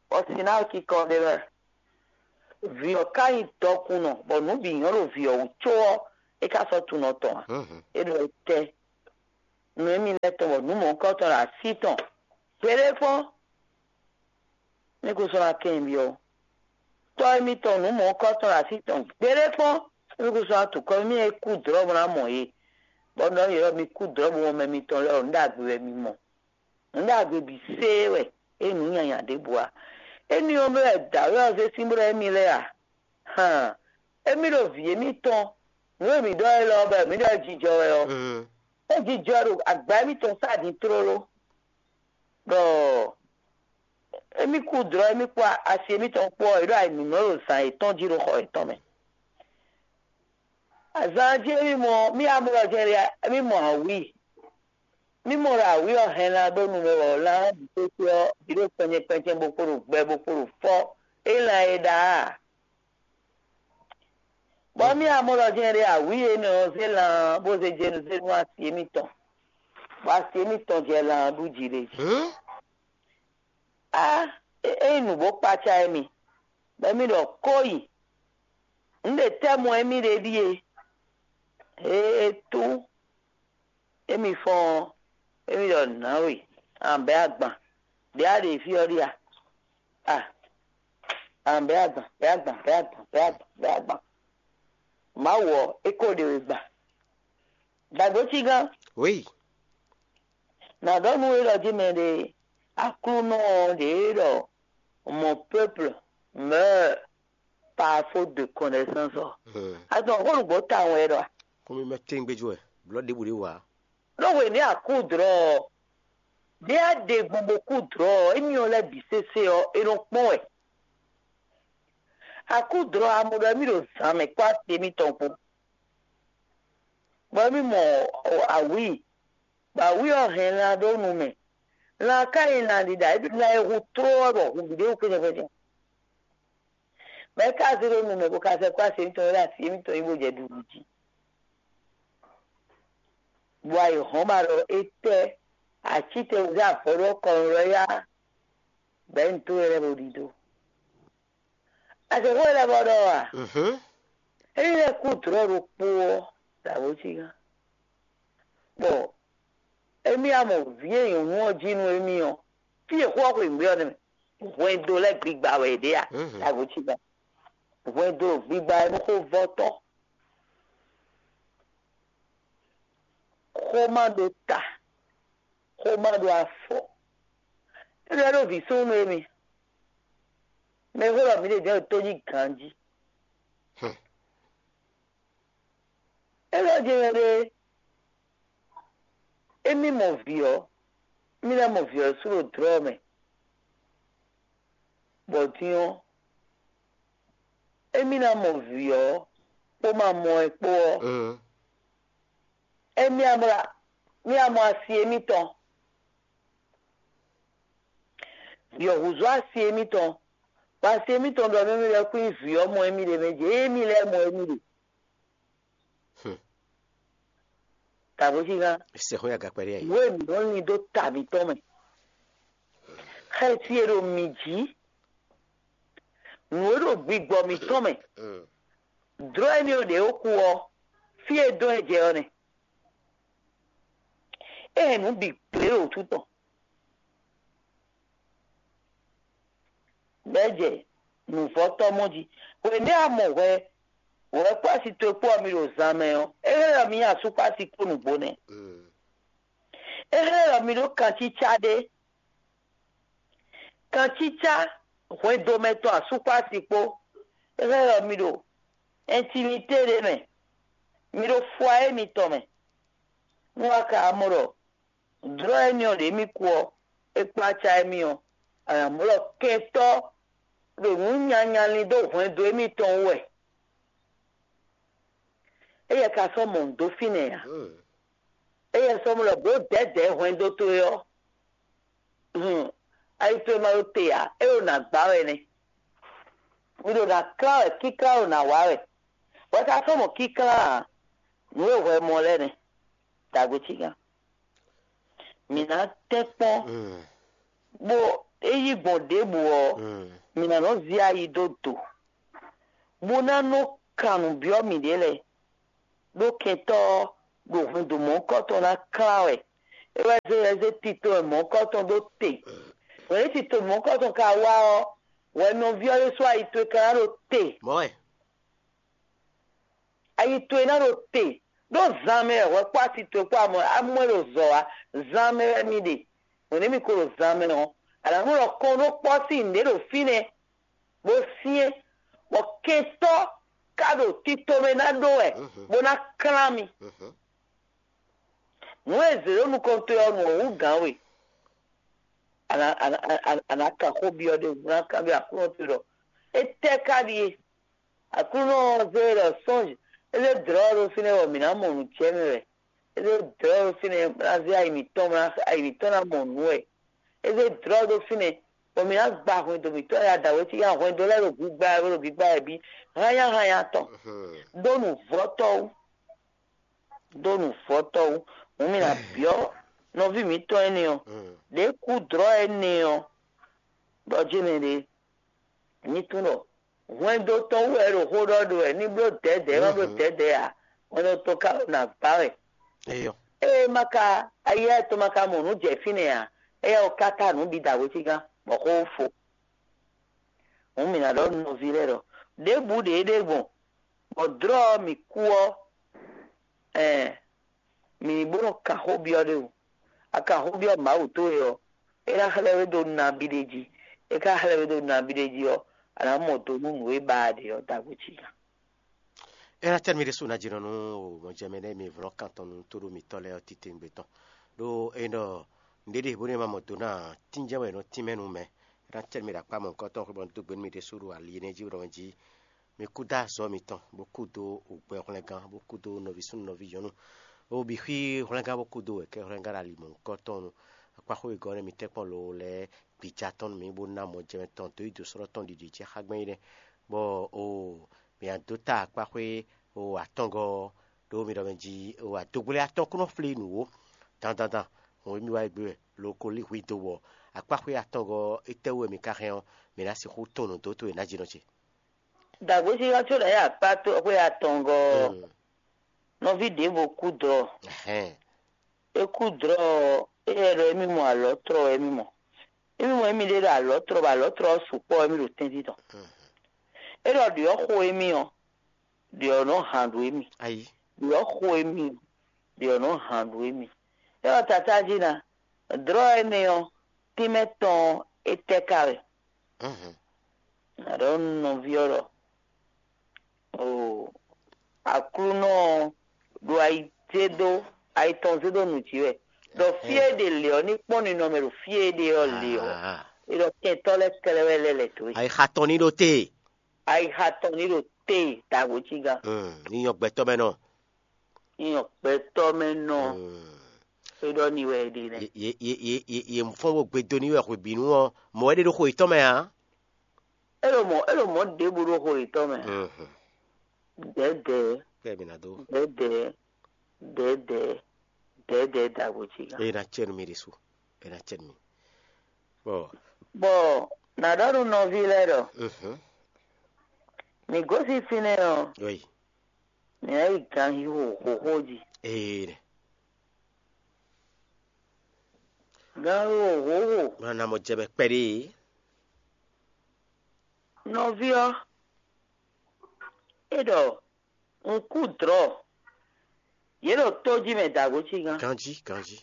bɔ sin ná kikɔ ɖe wɛ. Vǐ ɔ́ ka nyí dɔkunnɔ, bɔ nǔ bǐ nyɔ́ ɖo vǐ ɔ́ wú có ɔ́, é ka sɔ́ tunɔ tɔn ǎ. É ɖɔ étɛ́? Nǔ émí lɛ́ɛ tɔn bɔ nǔ mɔ̌hunkɔtɔn ɖo así tɔn. Gbeɖé kpɔ́n, mí kún sɔ́ ná kɛ́n nyi byɔ́. Tɔ́ émítɔn nǔ mɔ̌hunkɔtɔn ɖo así tɔn gbeɖé kpɔ́n, mí kún sɔ́ ná tu kɔ mí e kú dlɔ̌ bó ná mɔ yě, bɔ ɖɔ yě ɖɔ mi kú dlɔ̌ bó mɔ mɛ mitɔn lɛ́ɛ ɔ́, nǔ ɖagbe wɛ mi mɔ. Nǔ ɖagbe bǐ séé wɛ, é nyí nǔ nyanya ɖěbǔ ǎ. Énɛ́ ɔ́ mɛ wɛ dǎwe ɔ́ zé sín bó ɖɔ émí lɛ́ɛ a? Han, émí ɖo vǐ émítɔn, nǔ e mǐ ɖɔ élɔ́ ɔ́, bɔ mǐ ɖɔ é jijɔ wɛ ɔ́, é jijɔ ɖo agba émítɔn sá din tlóló. Ɖɔ émí kú dlɔ̌ émí kpó asi émítɔn kpó ɔ́, è ɖo ayǐmínɔ ɖo zǎn yětɔn jí ɖo xɔ yětɔn mɛ. Azǎn jí émí mɔ mí amlɔ jɛ́n ɖe émí mɔ awǐ. Mí mɔ ɖɔ awǐ ɔ́ hɛn lan ɖó nu mɛ wɔ lan ɔ́ bǐ kpékpé ɔ́, bǐ ɖo kpɛnjɛ kpɛnjɛ bó kpo ɖo gbɛ bó kpo ɖo fɔ́ é lan e ɖa a? Bɔ mí amlɔ jɛ́n ɖe awǐ énɛ́ ɔ́ zé lan bó zé jenu zé nú asi émítɔn, bɔ asi émítɔn jɛ lan ɖú jí ɖé jí. Á, é nyí nǔ bó kpácá émí, bɔ émí ɖɔ kó yi. Nǔ ɖe tɛ́ mɔ émí ɖe ɖíe, ee tú, émí fɔ́n ɔ́, émí ɖɔ nǎwe, an bɛ̌ agban, ɖě a ɖe fí ɔ́ ɖíe a? A, an bɛ̌ agban, bɛ̌ agban, bɛ̌ agban, bɛ̌ agban, bɛ̌ agban. Mawu ɔ́, é ko ɖe we gban. Dǎgbó cígán. Oui. Nǎ ɖɔ nú we ɖɔ jí mɛ ɖé, Aklúnɔ ɔ́ ɖě ɖɔ mon peuple meurt par faute de connaissance ɔ́. Azɔn xó nǔgbó tawun wɛ ɖɔ a? Xómɛ mɛ tɛ́ngbɛ́ jí wɛ, blɔ̌ ɖěbǔ ɖé wǎ. Ɖó hwenu e a kú dlɔ̌ ɔ́, Ɖě a ɖe gbɔn bó kú dlɔ̌ ɔ́, émí ɔ́ lɛ́ɛ bǐ sésé ɔ́, é nɔ kpɔ́n wɛ. A kú dlɔ̌ ɔ́, a mɔ ɖɔ émí ɖo zǎn mɛ kpó asi émítɔn kpó, bɔ émí mɔ awǐi, bɔ awǐi ɔ́ hɛn lan ɖó nu mɛ. Lan ka nyí lan ɖiɖa, é ɖo lan e hu tló ɔ́ ɖo hu bǐ ɖé wú kpɛ́nɛ́. Mɛ̌ ka zé ɖó nu mɛ bó ka sɛ́ kpó asi émítɔn e ɖo asi émítɔn nyí bó jɛ ɖuɖu jí? Bɔ ayǐ hɔ́n ba ɖɔ étɛ́ acítɛn zé avɔ ɖó kɔnu lɔ yá bɛ̌ nu tó e lɛ́ bo ɖidó. Azɛ̌xó e lɛ́ bɔ ɖɔ a? Ényí lɛ́ kú dlɔ̌ ɖokpó ɔ́, dǎwó cí gán. Bɔ émí a mɔ vǐ e nyɔ̌nu ɔ́ jí nú émí ɔ́, fí e xó ɔ́ xweyǐgbe ɔ́ nɛ́ mɛ, hwɛndo lɛ́ɛ gbigba wɛ è ɖe a? Dǎwó cí gán. Hwɛndo gbigba wɛ nú xó vɔ́tɔ́. Xó ma ɖo ta, xó ma ɖo afɔ. É ɖɔ ɖó vǐ súnnu émi. Mɛ e xó ɖɔ mǐ ɖe jɛ́n ɖo tó jí ganjí. É ɖɔ jɛ́n ɖé, émí mɔ vǐ ɔ́, émí ná mɔ vǐ ɔ́ sú ɖo dlɔ̌ mɛ. Bɔ din ɔ́, émí ná mɔ vǐ ɔ́ kpó ma mɔ ɛ kpó ɔ́, émí ná mɔ, mí ná mɔ asi émítɔn. Vǐ ɔ́ húzú asi émítɔn, bɔ asi émítɔn ɖɔ nú émí lɛ́ɛ kún nyí vǐ ɔ́ mɔ émí ɖe mɛ jɛ émí lɛ́ɛ mɔ émí ɖe. Tàbó cí gán. Sɛxɔ́ ya gakpɛɖé ayi. Nǔ e mǐ nɔ lin dó ta mǐtɔn mɛ. Xɛsi e ɖo mǐ jí, nǔ e ɖo gbigbɔ mǐtɔn mɛ, dlɔ́ énɛ́ ɔ́ ɖě ó kú ɔ́, fí e dɔn ɛ jɛ ɔ́ nɛ́. É hɛn nǔ bǐ gblé ɖo wútu tɔn. Bɛ́ jɛ nǔvɔ́tɔ́ mɔ jí. Hwěmɛ a mɔ hwɛ, hwɛ kpó asi towe kpó ɔ́ mi ɖo zan mɛ ɔ́, é hɛn ɖɔ mi nyi asú kpó asi kpó nǔgbó nɛ́. É hɛn ɖɔ mi ɖó kancícá ɖé. Kancícá hwɛndo mɛ tɔn asú kpó asi kpó, é hɛn ɖɔ mi ɖo ɛntinité ɖé mɛ, mi ɖo fwayé mitɔn mɛ. Nú a ka mɔ ɖɔ dlɔ́ énɛ́ ɔ́ ɖě mì kú ɔ́, é kplá acá émí ɔ́, a nǎ mɔ ɖɔ kɛntɔ́ ɖo nǔ nyanya lin dó hwɛndo émítɔn wú wɛ. Éyɛ́ ka sɔ́ mɔ nǔ dó fínɛ́ ǎ. Éyɛ́ sɔ́ mɔ ɖɔ bǒ dɛ̌dɛ̌ hwɛndo towe ɔ́, hun, ayi towe ma ɖo te ǎ, é ɖo nǎ gbá wɛ nɛ́. Mi ɖo nǎ klán wɛ, kíklán ɖo nǎ wa wɛ. Hwɛ ka sɔ́ mɔ kíklán ǎ, nǔ e hwɛ mɔ lɛ́ɛ nɛ́. Dǎgbé cí gán. Mǐ ná tɛ́nkpɔ́n, bó é yí gbɔn ɖěbǔ ɔ́, mǐ ná nɔ zí ayi dó do, bó ná nɔ kan nǔ byɔ́ mǐɖée lɛ́ɛ, ɖó kɛntɔ́ ɔ́ ɖo hwɛndo mɔ̌hunkɔtɔn ná klán wɛ. É wɛ zé wɛ zé tito e mɔ̌hunkɔtɔn ɖó te. Hwɛ̌n e tito mɔ̌hunkɔtɔn ka wá ɔ́, hwɛ nɔví ɔ́ ɖésú ayi towe ka ná ɖo te. Mɔ̌ wɛ. Ayi towe ná ɖo te, ɖó zan mɛ wɛ hwɛ kpó asi towe kpó amɔ amɔ e ɖo zɔ wá. Zan mɛ wɛ mi ɖe, hwɛ̌n mi ko ɖo zan mɛ ɔ́, a nǎ nɔ ɖɔ kɔn ɖó kpɔ́ sín nǔɖé ɖo fínɛ́, bó syɛ́n, bɔ kɛntɔ́ ka ɖo tito mɛ ná ɖó wɛ, bó ná klán mi. Nǔ e zě ɖo nukɔn towe ɔ́, nǔ ɔ́ wú gǎn we. A nǎ a nǎ a nǎ kan xó byɔ́ ɖé wú, ná kanbyɔ́ Aklúnɔ towe ɖɔ étɛ́ ka ɖíe? Aklúnɔ ɔ́ zé e ɖɔ sɔ́nj, é zé dlɔ̌ ɔ́ ɖó fínɛ́ bɔ mǐ ná mɔ nǔ jɛ mɛ wɛ. É zé dlɔ̌ ɔ́ ɖó fínɛ́ bó ná zé ayi mǐtɔn, bó ná ayi mǐtɔn ná mɔ nǔ wɛ. É zé dlɔ̌ ɔ́ ɖó fínɛ́ bɔ mǐ ná gba hwɛndo mǐtɔn ya dǎwe cí ya hwɛndo lɛ́ɛ ɖo gbigba wɛ, ɖo gbigba wɛ bí hányáhányá tɔn. Ɖó nǔvɔ́tɔ́ wú, ɖó nǔvɔ́tɔ́ wú, hǔn mǐ ná byɔ́ nɔví mǐtɔn énɛ́ ɔ́, ɖě kú dlɔ̌ énɛ́ ɔ́, ɖɔ jɛ́n mɛ ɖě. Nyí tunwun ɖɔ hwɛndo tɔn wú wɛ é ɖo xó ɖɔ ɖo wɛ ní bló dɛ̌dɛ̌, má bló dɛ̌dɛ̌ ǎ, hwɛndo tɔn ka ɖo nǎ gbá wɛ. Eyɔ. Ée má ka ayá tɔn ma ka mɔ nǔ jɛ fínɛ́ ǎ, éyɛ́ ɔ́ káká nǔ bǐ da hwesígán, bɔ xó fo. Hǔn mǐ ná ɖɔ nú nɔví lɛ́ɛ ɖɔ ɖěbǔ ɖě é ɖe gbɔn, bɔ dlɔ́ ɔ́ mǐ kú ɔ́, ɛɛ, mǐ ní bó nɔ kan xó byɔ́ ɖé o. A kan xó byɔ́ Mawu towe ɔ́, é ná xlɛ́ we dó nabí ɖé jí. É ka xlɛ́ we dó nabí ɖé jí ɔ́, a nǎ mɔ do nú nǔ e ba a ɖe ɔ́ dǎgbé cí gán. É ná tɛ́ nú mì ɖésú ná jínɔ nú mɔjɛmɛ nɛ́ mi vlɔ́ kan tɔn nú tóɖó mǐtɔn lɛ́ɛ ɔ́ titewungbe tɔn. Ɖó é ɖɔ Nǔɖé ɖe bónú è ma mɔ do ná ǎ, tínjɛ́n wɛ è nɔ tínmɛ nú mɛ. É ná cɛ nú mi ɖo akpá mɔ̌hunkɔtɔn xwé bɔ un dó gbe nú mi ɖésú ɖo ali énɛ́ jí ɖɔ jí mi kúdó azɔ̌ mitɔn, bó kúdó ògbɛ hwlɛngán, bó kúdó nɔví súnnu nɔví nyɔ̌nu, bó bǐ xwí hwlɛngán, bó kúdó wɛ̌kɛ́ hwlɛngán ɖo ali mɔ̌hunkɔtɔn nu. Akpá xwé wegɔ́ nɛ́ mitɛ́ kpɔ́n loo lɛ́ɛ gbijà tɔn nú mǐ, bó ná mɔ jɛ mɛ tɔn dó yi dǒ sɔ́ tɔn ɖiɖi jí xá gbɛn é nɛ́. Bɔ oo, mǐ ná dó ta akpá xwé oo atɔngɔ́ ɔ́, ɖó mi ɖɔ mɛ jí oo adogblé atɔn kún nɔ flí nǔ ó. Dandandan, hɔn émí wá yi gbé wɛ, lo ko lí hwi dó wɔ akpá xwé atɔngɔ́ ɔ́, étɛ́wú wɛ mi ka hɛn ɔ́, mǐ ná sixú tɔn nǔ dó towe ná jínɔ ce. Dǎgbéjínjɔ́n có ɖo yě akpá tó xwé atɔngɔ́ ɔ́, nɔví ɖěvo kú dɔ̌. Ɛhɛn. É kú dlɔ́ ɔ́, éyɛ́ ɖɔ émí mɔ alɔ̌tlɔ wɛ émí mɔ. Émí mɔ émí ɖé ɖo alɔ̌tlɔ bɔ alɔ̌tlɔ ɔ́ sukpɔ́ wɛ émí ɖo tɛ́ntin tɔn. É ɖɔ ɖyɔ̌ xo émí ɔ́, ɖyɔ̌ nɔ han ɖo émí. Ayí. Ɖyɔ̌ xo émí ɔ́, ɖyɔ̌ nɔ han ɖo émí. É ɖɔ tatájí ná, dlɔ́ énɛ́ ɔ́, tínmɛ tɔn ɔ́, é tɛ́ ka wɛ? Aɖɔ̌ nɔví ɔ́ ɖɔ: Oo, Aklúnɔ ɔ́ ɖo ayi zé dó, ayi tɔn zé dó nǔ jí wɛ, ɖɔ fí e ɖe lě ɔ́ ní kpɔ́n ninɔmɛ ɖo fí e ɖe ɔ́ lě ɔ́, é ɖɔ kɛntɔ́ lɛ́ɛ kɛ́ɖɛ́ wɛ lɛ́ lɛ̌ dó e. Ayixa tɔn ní ɖo te. Ayixa tɔn ní ɖo te dǎgbó cí gán. Ní nyɔ gbɛtɔ́ mɛ nɔ. Ní nyɔ gbɛtɔ́ mɛ nɔ. É ɖɔ ní wɛ é ɖe nɛ́. Yě fɔ́n bó gbedo ní wɛ hwebǐnu ɔ́, mɔ̌ wɛ ɖe ɖo xo yětɔn mɛ ǎ. É ɖo mɔ̌ é ɖo mɔ̌ ɖěbǔ ɖo xo yětɔn mɛ. Dɛ̌dɛ̌. Kpɛ́ mi ná dó. Dɛ̌dɛ̌, dɛ̌dɛ̌, dɛ̌dɛ̌ dǎgbó cí gán. Eye ná cɛ nú mi ɖésú. Eye ná cɛ nú mi. Bɔ Bɔ nǎ ɖɔ nú nɔví lɛ́ɛ ɖɔ: Mǐ gosín fínɛ́ ɔ́, oyi. Mǐ ná yi ganxixo xóxó jí. Ee nɛ. Ganxixo xóxó. Má ná mɔ jɛ mɛ kpɛɖé. Nɔví ɔ́, é ɖɔ un kú dlɔ̌. Yě ɖo tó jí mɛ dǎgó cí gán. Ganjí, ganjí.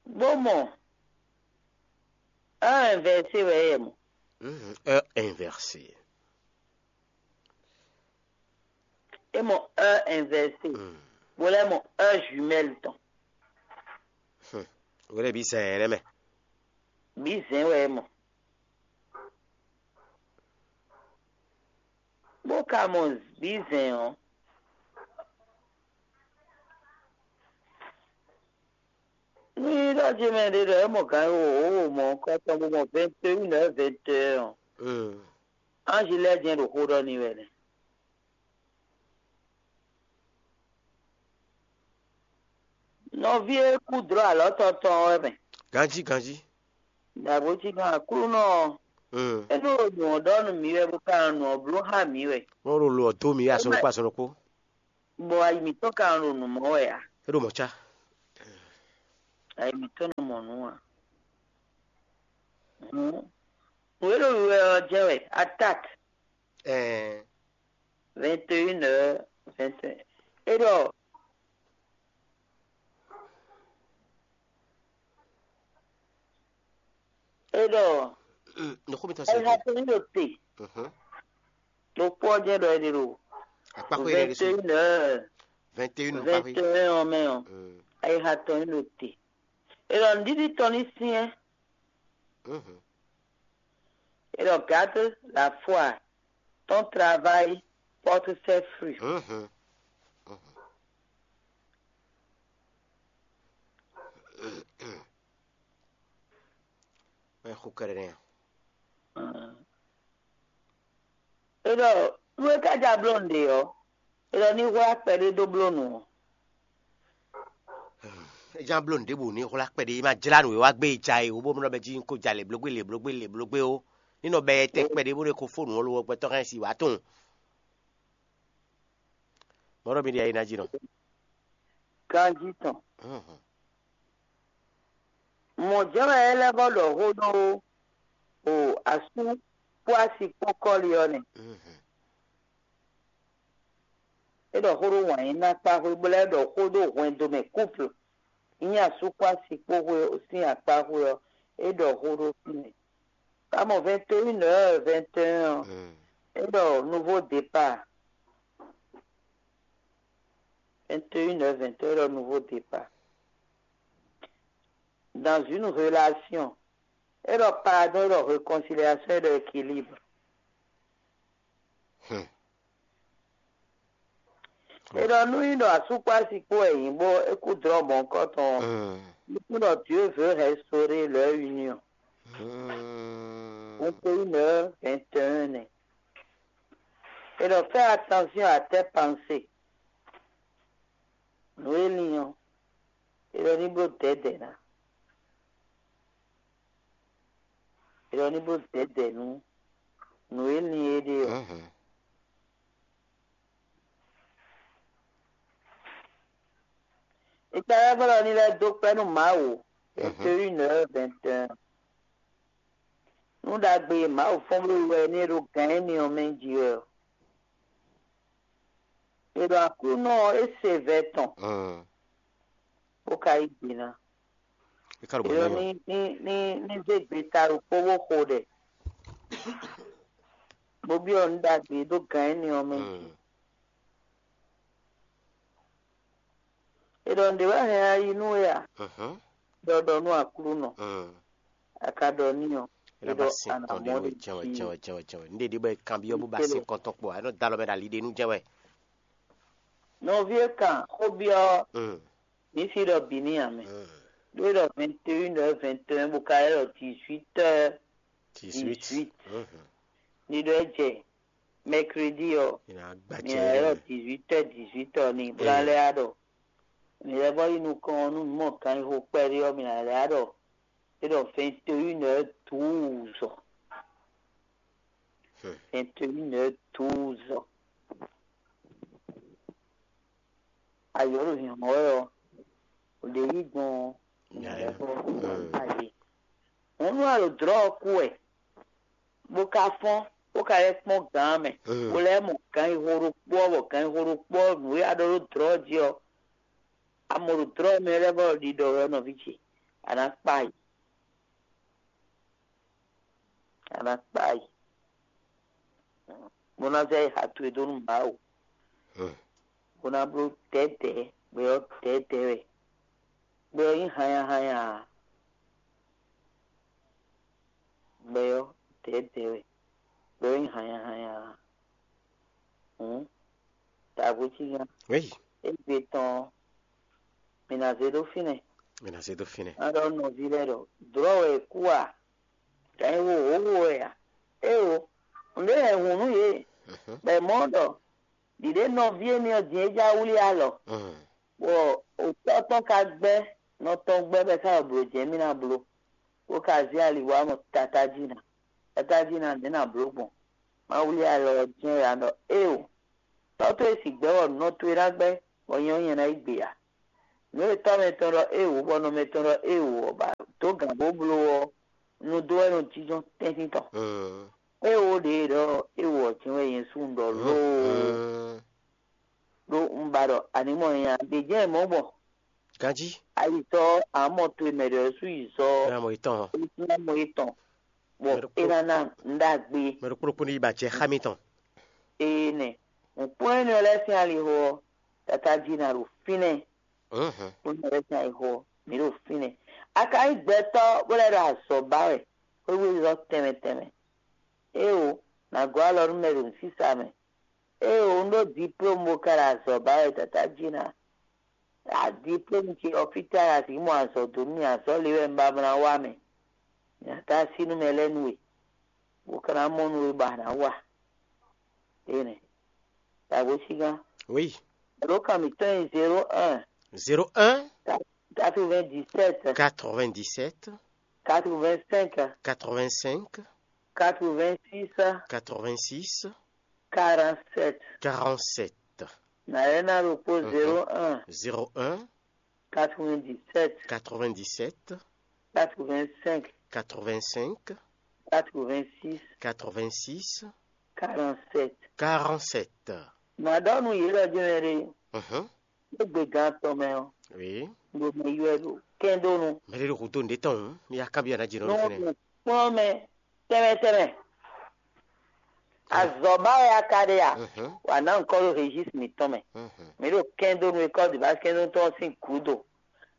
Bó mɔ heure inversée wɛ é mɔ. Mhm, heure inversée. É mɔ heure inversée. Mm. Bó lɛ́ mɔ heure jumelle tɔn. Hmm. Wé lɛ́ bǐ zɛ̌n ɛ nɛ́ mɛ. Bǐ zɛ̌n wɛ é mɔ. Bó ka mɔ bǐ zɛ̌n ɔ́, ní ɖɔ jí mɛ ɖé ɖɔ é mɔ gǎn e wǒ wǒ mɔ kɔ́tɔn bó mɔ vingt et un heures vingt et un ɔ́, anji lɛ́ɛ jɛ́n ɖo xó ɖɔ n'i wɛ nɛ́. Nɔví e kú dlɔ́ alɔ̌ tɔn tɔn ɔ́ wɛ mɛ. Ganjí, ganjí. Dǎgbó cí gán Aklúnɔ ɔ́, é nɔ ɖo nǔ ɔ́ ɖɔ nú mǐ wɛ, bó ka nɔ nǔ ɔ́ bló xá mǐ wɛ. Wọ́n ɖo lo ɔ́ dó mǐ wɛ azɔn ɖokpó azɔn ɖokpó. Bɔ ayi mǐtɔn ka nɔ ɖo nǔ mɔ wɛ ǎ. É ɖo mɔ̌ cá. Ayi mǐtɔn nɔ mɔ nǔ ǎ. Hǔn, nǔ e ɖo wiwa ɔ́ jɛ́n wɛ, attaque. Ɛɛ. Vingt et une heures, vingt et un. É ɖɔ, é ɖɔ, Mm, nɔxɔ mi tɔn sɛ. Ayixa tɔn ní ɖo te. Mhm. Ɖokpó ɔ́ jɛ́n ɖɔ é ɖe ɖo Akpáxwé ɖe ɖésú. Vingt et une heures, Vingt et une akpáxwé. Vingt et un ɔ́ mɛ ɔ́, Mm. Ayixa tɔn ní ɖo te. É ɖɔ nǔɖiɖi tɔn ní syɛ́n. Mhm. Et regarde la foi, ton travail porte ses fruits. Mhm. Mhm. Mɛ xo kɛɖɛ nɛ. É ɖɔ nú é ka ja bló nǔɖé ɔ́, é ɖɔ ní hwlá kpɛɖé dó bló nǔ ɔ́. É já bló nǔɖé bɔ ní hwlá kpɛɖé, é ma jlá nǔ e wá gbé e ja e wǒ bó nɔ bɛ jí ko ja lě blógbé lě blógbé lě blógbé ó. Ní nɔ bɛ tɛ kpɛɖé bó ɖe ko fó nǔ ɔ́ lo ɔ́ gbɛtɔ́ hɛn si wǎ tunwun. Mɔ̌ ɖɔ mi ɖi ayi ná jí nɔ. Ganjí tɔn. Mhm. Mɔ̌ jɛ́n wɛ é lɛ́ vɔ́ ɖɔ xó ɖó o asú kpó asi kpó kɔ́li ɔ́ nɛ́. Mhm. É ɖɔ xó ɖó wǎn yí ná kpá xwé, bó lɛ́ ɖɔ xó ɖó hwɛndo mɛ couple. Nyí asú kpó asi kpó xwé sín akpá xwé ɔ́, é ɖɔ xó ɖó fínɛ́. Ka mɔ vingt et une heures vingt et un ɔ́, Mm. É ɖɔ nouveau départ. Vingt et une heures vingt et un, é ɖɔ nouveau départ. dans une relation. É ɖɔ pardon, é ɖɔ réconciliation, é ɖɔ équilibre. Hmm. É ɖɔ nú nyí ɖɔ asú kpó asi kpó wɛ nyí bó é kú drɔ́ mɔ̌hunkɔtɔn ɔ́, Hmm. nukún ɖɔ Dieu veut restaurer leur union. Hmm. Vingt et une heures vingt et un nɛ. É ɖɔ fais attention à tes pensées. Nǔ e lin ɔ́, é ɖɔ ní bló dɛ̌dɛ̌ ná. É ɖɔ ní bló dɛ̌dɛ̌ nú nǔ e lin é ɖe ɔ́. Mhm. Ìtàlẹ́gbọ́n ní lɛ́ dó kpɛ́ nú Mawu. Vingt et une heures vingt et un. Nú ɖagbe e Mawu fɔ́n bló wɛ ní e ɖo gǎn énɛ́ ɔ́ mɛ jí wɛ ɔ́. È ɖo Aklúnɔ ɔ́, é se vɛ̌ tɔn, Mm. bó ka yí gbe ná. É ka ɖo È bɔ ɖɔ nyɔ. ní ní ní ní zé gbe ta ɖokpó bó xo ɖɛ, bó byɔ́ nǔ ɖagbe e ɖo gǎn énɛ́ ɔ́ mɛ jí. Mm. È ɖɔ nǔɖé wɛ hɛn ayi nú we a? Mhm. Ɖɔ ɖɔ nú Aklúnɔ, Mm. a ka ɖɔ n'i ɔ́, Ela é ba ɖɔ sin a nǎ tɔn mɔ ɖe nú ɖe jɛn wɛ jí. jɛn wɛ jɛn wɛ jɛn wɛ. Nɖe ɖi bɔ e kanbyɔ bó ba sin kɔntɔn kpɔ. Anɔ da alɔ mɛ ɖo ali ɖe nú jɛn wɛ. Nɔví e kan xó byɔ́ Mm. mǐ si ɖɔ bǐ ní ǎ mɛ. Mm. Ɖó é ɖɔ vingt et une heures vingt et un bó ka é ɖɔ dix-huit heures Dix-huit. dix-huit. Mhm. Ní ɖɔ é jɛ mercredi ɔ́, Ina gba mǐ ná é ɖɔ jɛ. dix-huit heures dix-huit heures ní bó ná Eh. lɛ́ á ɖɔ mǐ lɛ́ vɔ́ yi nukɔn ɔ́, nú mǐ mɔ kan yi xo kpɛɖé ɔ́, mǐ ná lɛ́ á ɖɔ é ɖɔ vingt et une heures douze. Hmm. Vingt et une heures douze. Ayɔ̌ ɖo hǐnhɔ́n wɛ ɔ́, ɖě yí gbɔn ɔ́, mǐ ná lɛ́ vɔ́ Hmm. ayé. Hǔn nú a ɖo dlɔ̌ ɔ́ kú wɛ, bó ka fɔ́n, bó ka lɛ́ kpɔ́n gǎn mɛ, Hmm. bó lɛ́ mɔ gǎn yi xo ɖokpó ɔ́, bɔ gǎn yi xo ɖokpó ɔ́, nǔ e a ɖɔ ɖó dlɔ̌ ɔ́ jí ɔ́, a mɔ ɖo dlɔ̌ ɔ́ mɛ lɛ́ɛ bɔ ɖiɖɔ wɛ ɔ́, nɔví ce, a nǎ kpa yi. A nǎ kpa yi. Bó ná zɛ yi ha towe dó nú Mawu. Hmm. Bó ná bló dɛ̌dɛ̌, gbɛ ɔ́ dɛ̌dɛ̌ wɛ. Gbɛ ɔ́ nyí hanyahanya ǎ. Gbɛ ɔ́ dɛ̌dɛ̌ wɛ. Gbɛ ɔ́ nyí hanyahanya ǎ. Hǔn, dǎgbó cí gán. Oui. Égbé tɔn ɔ́, mǐ ná zé ɖó fínɛ́. Mǐ ná zé dó fínɛ́. Má ɖɔ nɔví lɛ́ɛ ɖɔ, dlɔ̌ wɛ è kú a? Gǎn e wo hǒhó wɛ a? Éwo, nǔɖé hɛn hǔn nú yě, Mhm. bɔ è mɔ ɖɔ ɖiɖě nɔví énɛ́ ɔ́ din é já wlí alɔ, Mm. bɔ òtɔ́ tɔn ka gbɛ́ nɔ tɔn gbɛ́ bɔ é ká ɖo blǒ jɛ́n mì ná bló, bó ka zé ali wá mɔ tatájí ná. Tatájí ná nɛ̌ ná bló gbɔn? Má wlí alɔ ɔ́ jɛ́n wɛ a ɖɔ éwo, tɔ́ towe sigbɛ́ wɔ nɔ towe ná gbɛ́, bɔ nyɛ ɔ́ nyɛ ná yí gbe ǎ. Nǔ e tɔ́ mɛtɔn ɖɔ éwo, bɔ nɔ mɛtɔn ɖɔ éwo ɔ́ ba dó gǎn bó bló ɔ́, nu dó wɛ nɔ jínjɔ́n tɛ́ntin tɔn. Mm. Éwo ɖě e ɖɔ éwo ɔ́ jɛ́n wɛ nyɛ sú un ɖɔ lóo, Mm. ɖó un ba ɖɔ a ní mɔ nya ɖě jɛ́n mɔ̌ gbɔn. Ganjí. Ayitɔ amɔ towe mɛ ɖɔ sú yi zɔ Ena mɔ yitɔn. é ná mɔ étɔn, bɔ Mɛ ɖokpó- é ná ná un ɖagbe. Mɛ ɖokpó ɖokpó ní yi ba jɛ xá mitɔn. Ée nɛ, un kpɔ́n énɛ́ lɛ́ɛ sín alixo ɔ́, tatájí ná ɖo fínɛ́. Mhm. Kpɔ́n énɛ́ lɛ́ɛ sín alixo ɔ́, mǐ ɖo fínɛ́. A ka nyí gbɛtɔ́ bó lɛ́ ɖo azɔ̌ ba wɛ, xwéwú élɔ́ tɛnmɛ tɛnmɛ. Éwo, nǎ gɔ́ alɔ nú mɛ ɖo nǔsísa mɛ. Éwo, un ɖó diplôme bó ka ɖo azɔ̌ ba wɛ, tatájí ná. A diplôme ce ɔ́, fítɛ́ a sixú mɔ azɔ̌ dó nú mì? Azɔ̌ le wɛ un ba ná wá mɛ. Mǐ ná dó así nú mɛ lɛ́ɛ nú we, bó ka ná mɔ nú we bɔ a nǎ wa. Énɛ́. Dǎgbó cí gán. Oui. Ɖǒ kan mǐtɔn nyí zéro un, Zéro un, quatre-vingt-dix-sept, quatre-vingt-dix-sept, quatre-vingt-cinq, quatre-vingt-cinq, quatre-vingt-six, quatre-vingt-six, quarante-sept. Quarante-sept. Nǎ lɛ́ ná ɖokpó Mhm. zéro un, Zéro un, quatre-vingt-dix-sept, quatre-vingt-dix-sept, quatre-vingt-cinq, quatre-vingt-cinq, quatre-vingt-six, quatre-vingt-six, quarante-sept. Quarante-sept. Mǎ ɖɔ nú yě ɖɔ jɛ́n mɛ ɖe, Mhm. é gbe gán tɔn mɛ ɔ́, Oui. ɖo mɛ ywɛ ɖo kɛ́ndónu. Mɛ ɖé ɖo hǔ dó nǔɖé tɔn hǔn, mi yá kanbyɔ́ ná jɛ nɔ Nú ɖo fínɛ́. kplɔ́n mɛ tɛnmɛ tɛnmɛ, azɔ̌ ba wɛ a ka ɖe a? Mhm. Wǎ ná ŋkɔ ɖo régis mǐtɔn mɛ. Mhm. Mǐ ɖo kɛ́ndónu e kɔ́ ɖi bá kɛ́ndónu tɔn ɔ́ sín gǔdo.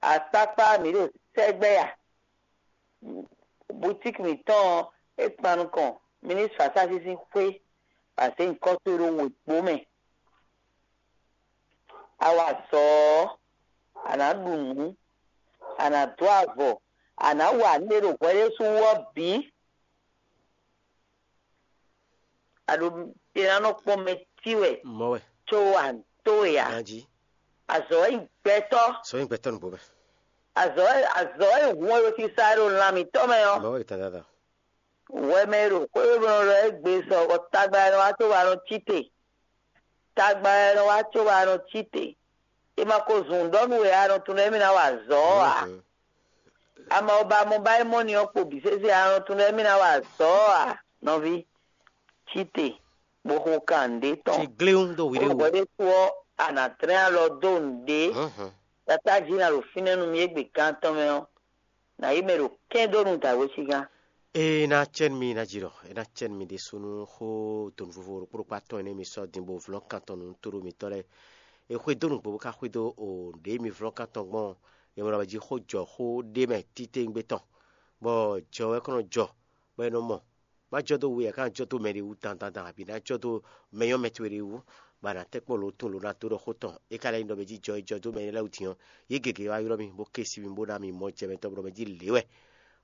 Akpákpá mǐ ɖo sɛgbɛ a? Boutique mǐtɔn ɔ́, é kpan nukɔn ministre Fasási sín xwé, bɔ a zě nyǐkɔ towe ɖó wěkpo mɛ. A wa azɔ̌ ɔ́, a nǎ ɖu nǔ, a nǎ dó avɔ, a nǎ wa nǔ e ɖo hwɛ ɖésú wú ɔ́ bǐ. A ɖo è nǎ nɔ kpɔ́n mɛ tí wɛ, mɔ wɛ, có a nǔ towe ǎ. Ganjí. Azɔ̌ wɛ nyí gbɛtɔ́. Sɔ nyí gbɛtɔ́ nǔgbó mɛ. Azɔ̌ wɛ azɔ̌ wɛ nyí hǔn e ɖo sisa e ɖo lan mǐtɔn mɛ ɔ́. Mɔ wɛ tadada. Wɛ mɛ e ɖo xwé e nɔ ɖɔ égbé sɔ bɔ tagba e nɔ wá có wá nɔ cí te. Tagba e nɔ wá có wá nɔ cí te. È ma ko zun ɖɔ nú we a nɔ tunwun ɖɔ émí ná wa azɔ̌ ɔ́ ǎ. Mhm. Ama ɔ́ ba mɔ ba é mɔ ni ɔ́ kpo bǐ sésé a nɔ tunwun ɖɔ émí ná wa azɔ̌ ɔ́ ǎ, nɔví. Cí te, bó xo kan nǔɖé tɔn. Ci gléwún dó wǐɖé wú. Hwɛ ɖésú ɔ́, a nǎ tlɛ́n alɔ dó nǔɖé. Mhm. Tatájí ná ɖo fínɛ́ nú mì égbé gán tɔn mɛ ɔ́, nǎ yi mɛ ɖo kɛ́n dó nú dǎwe sígán. É ná cɛ́ nú mì ná jǐ ɖɔ é ná cɛ́ nú mì ɖésúnú xó donu vovo ɖokpó ɖokpó atɔn énɛ́ mi sɔ́ din bó vlɔ́n kan tɔn nú tóɖó mitɔ́ lɛ́ɛ. È xwedó nǔgbó bó ka xwedó o ɖě mi vlɔ́n kan tɔn gbɔn ɔ́, è mɔ ɖɔ jí xó jɔ xó ɖé mɛ títewungbe tɔn, bɔ jɔ wɛ kɔn nɔ jɔ, bɔ è nɔ mɔ. Má jɔ dó we ǎ, ká jɔ dó mɛɖé wú dandandan, abǐ ná jɔ dó mɛ nyɔ́mɛ towe ɖé wú, bɔ a nǎ tɛ́ kpɔ́n lǒ tun lǒ ná dó ɖɔ xó tɔn. É ka lɛ́ nyí ɖɔ mɛ jí jɔ é jɔ dó mɛ énɛ́ lɛ́ɛ wú din ɔ́, yě gěgé wá ylɔ́ mì, bó ké sí mì, bó ná mì mɔ jɛ mɛ tɔn bɔ mɛ jí lě wɛ.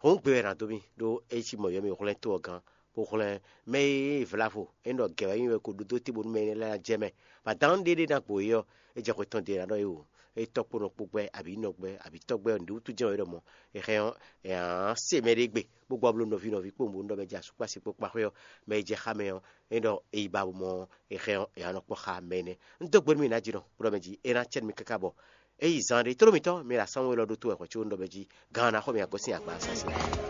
Hǔn gbe wɛ è nǎ dó mì, ɖó é cí mɔ̌ ylɔ́ mì hwlɛ́n tó ɔ́ gán, bó hwlɛ́n mɛ e vlavo é nɔ gɛ̌ wɛ nyí wɛ ko ɖó dó te bónú mɛ énɛ́ lɛ́ɛ ná jɛ mɛ. Bɔ adǎnnú ɖé ɖé ná gbo é ɔ́, é jɛ xwe tɔn ɖe è nǎ ɖɔ é wú. É tɔ́ kpó nɔ kpó gbɛ́, abǐ nɔ gbɛ́, abǐ tɔ́ gbɛ́ ɔ́, nǔɖé wútu jɛ́n wɛ é ɖɔ mɔ̌? È hɛn ɔ́, è nǎ se mɛɖé gbe, bó gbɔ bló nɔví nɔví kpó nǔ bónú ɖɔ mɛ jí asúkpási kpó kpáxwé ɔ́, mɛ e jɛ xá mɛ ɔ́, é ɖɔ è yi ba mɔ è hɛn ɔ́, è nǎ nɔ kpɔ́ xá mɛ énɛ́. Un dó gbe nú mì nǎ jínɔ, bó ɖɔ mɛ jí é ná cɛ nú mi káká bɔ é yi zan ɖé tló mitɔn, mi ɖo asánwó élɔ́ ɖótó wɛ hwɛ̌ có un ɖɔ mɛ jí gǎn ɔ́ ná xɔ mi agɔ́ sín agba sásé.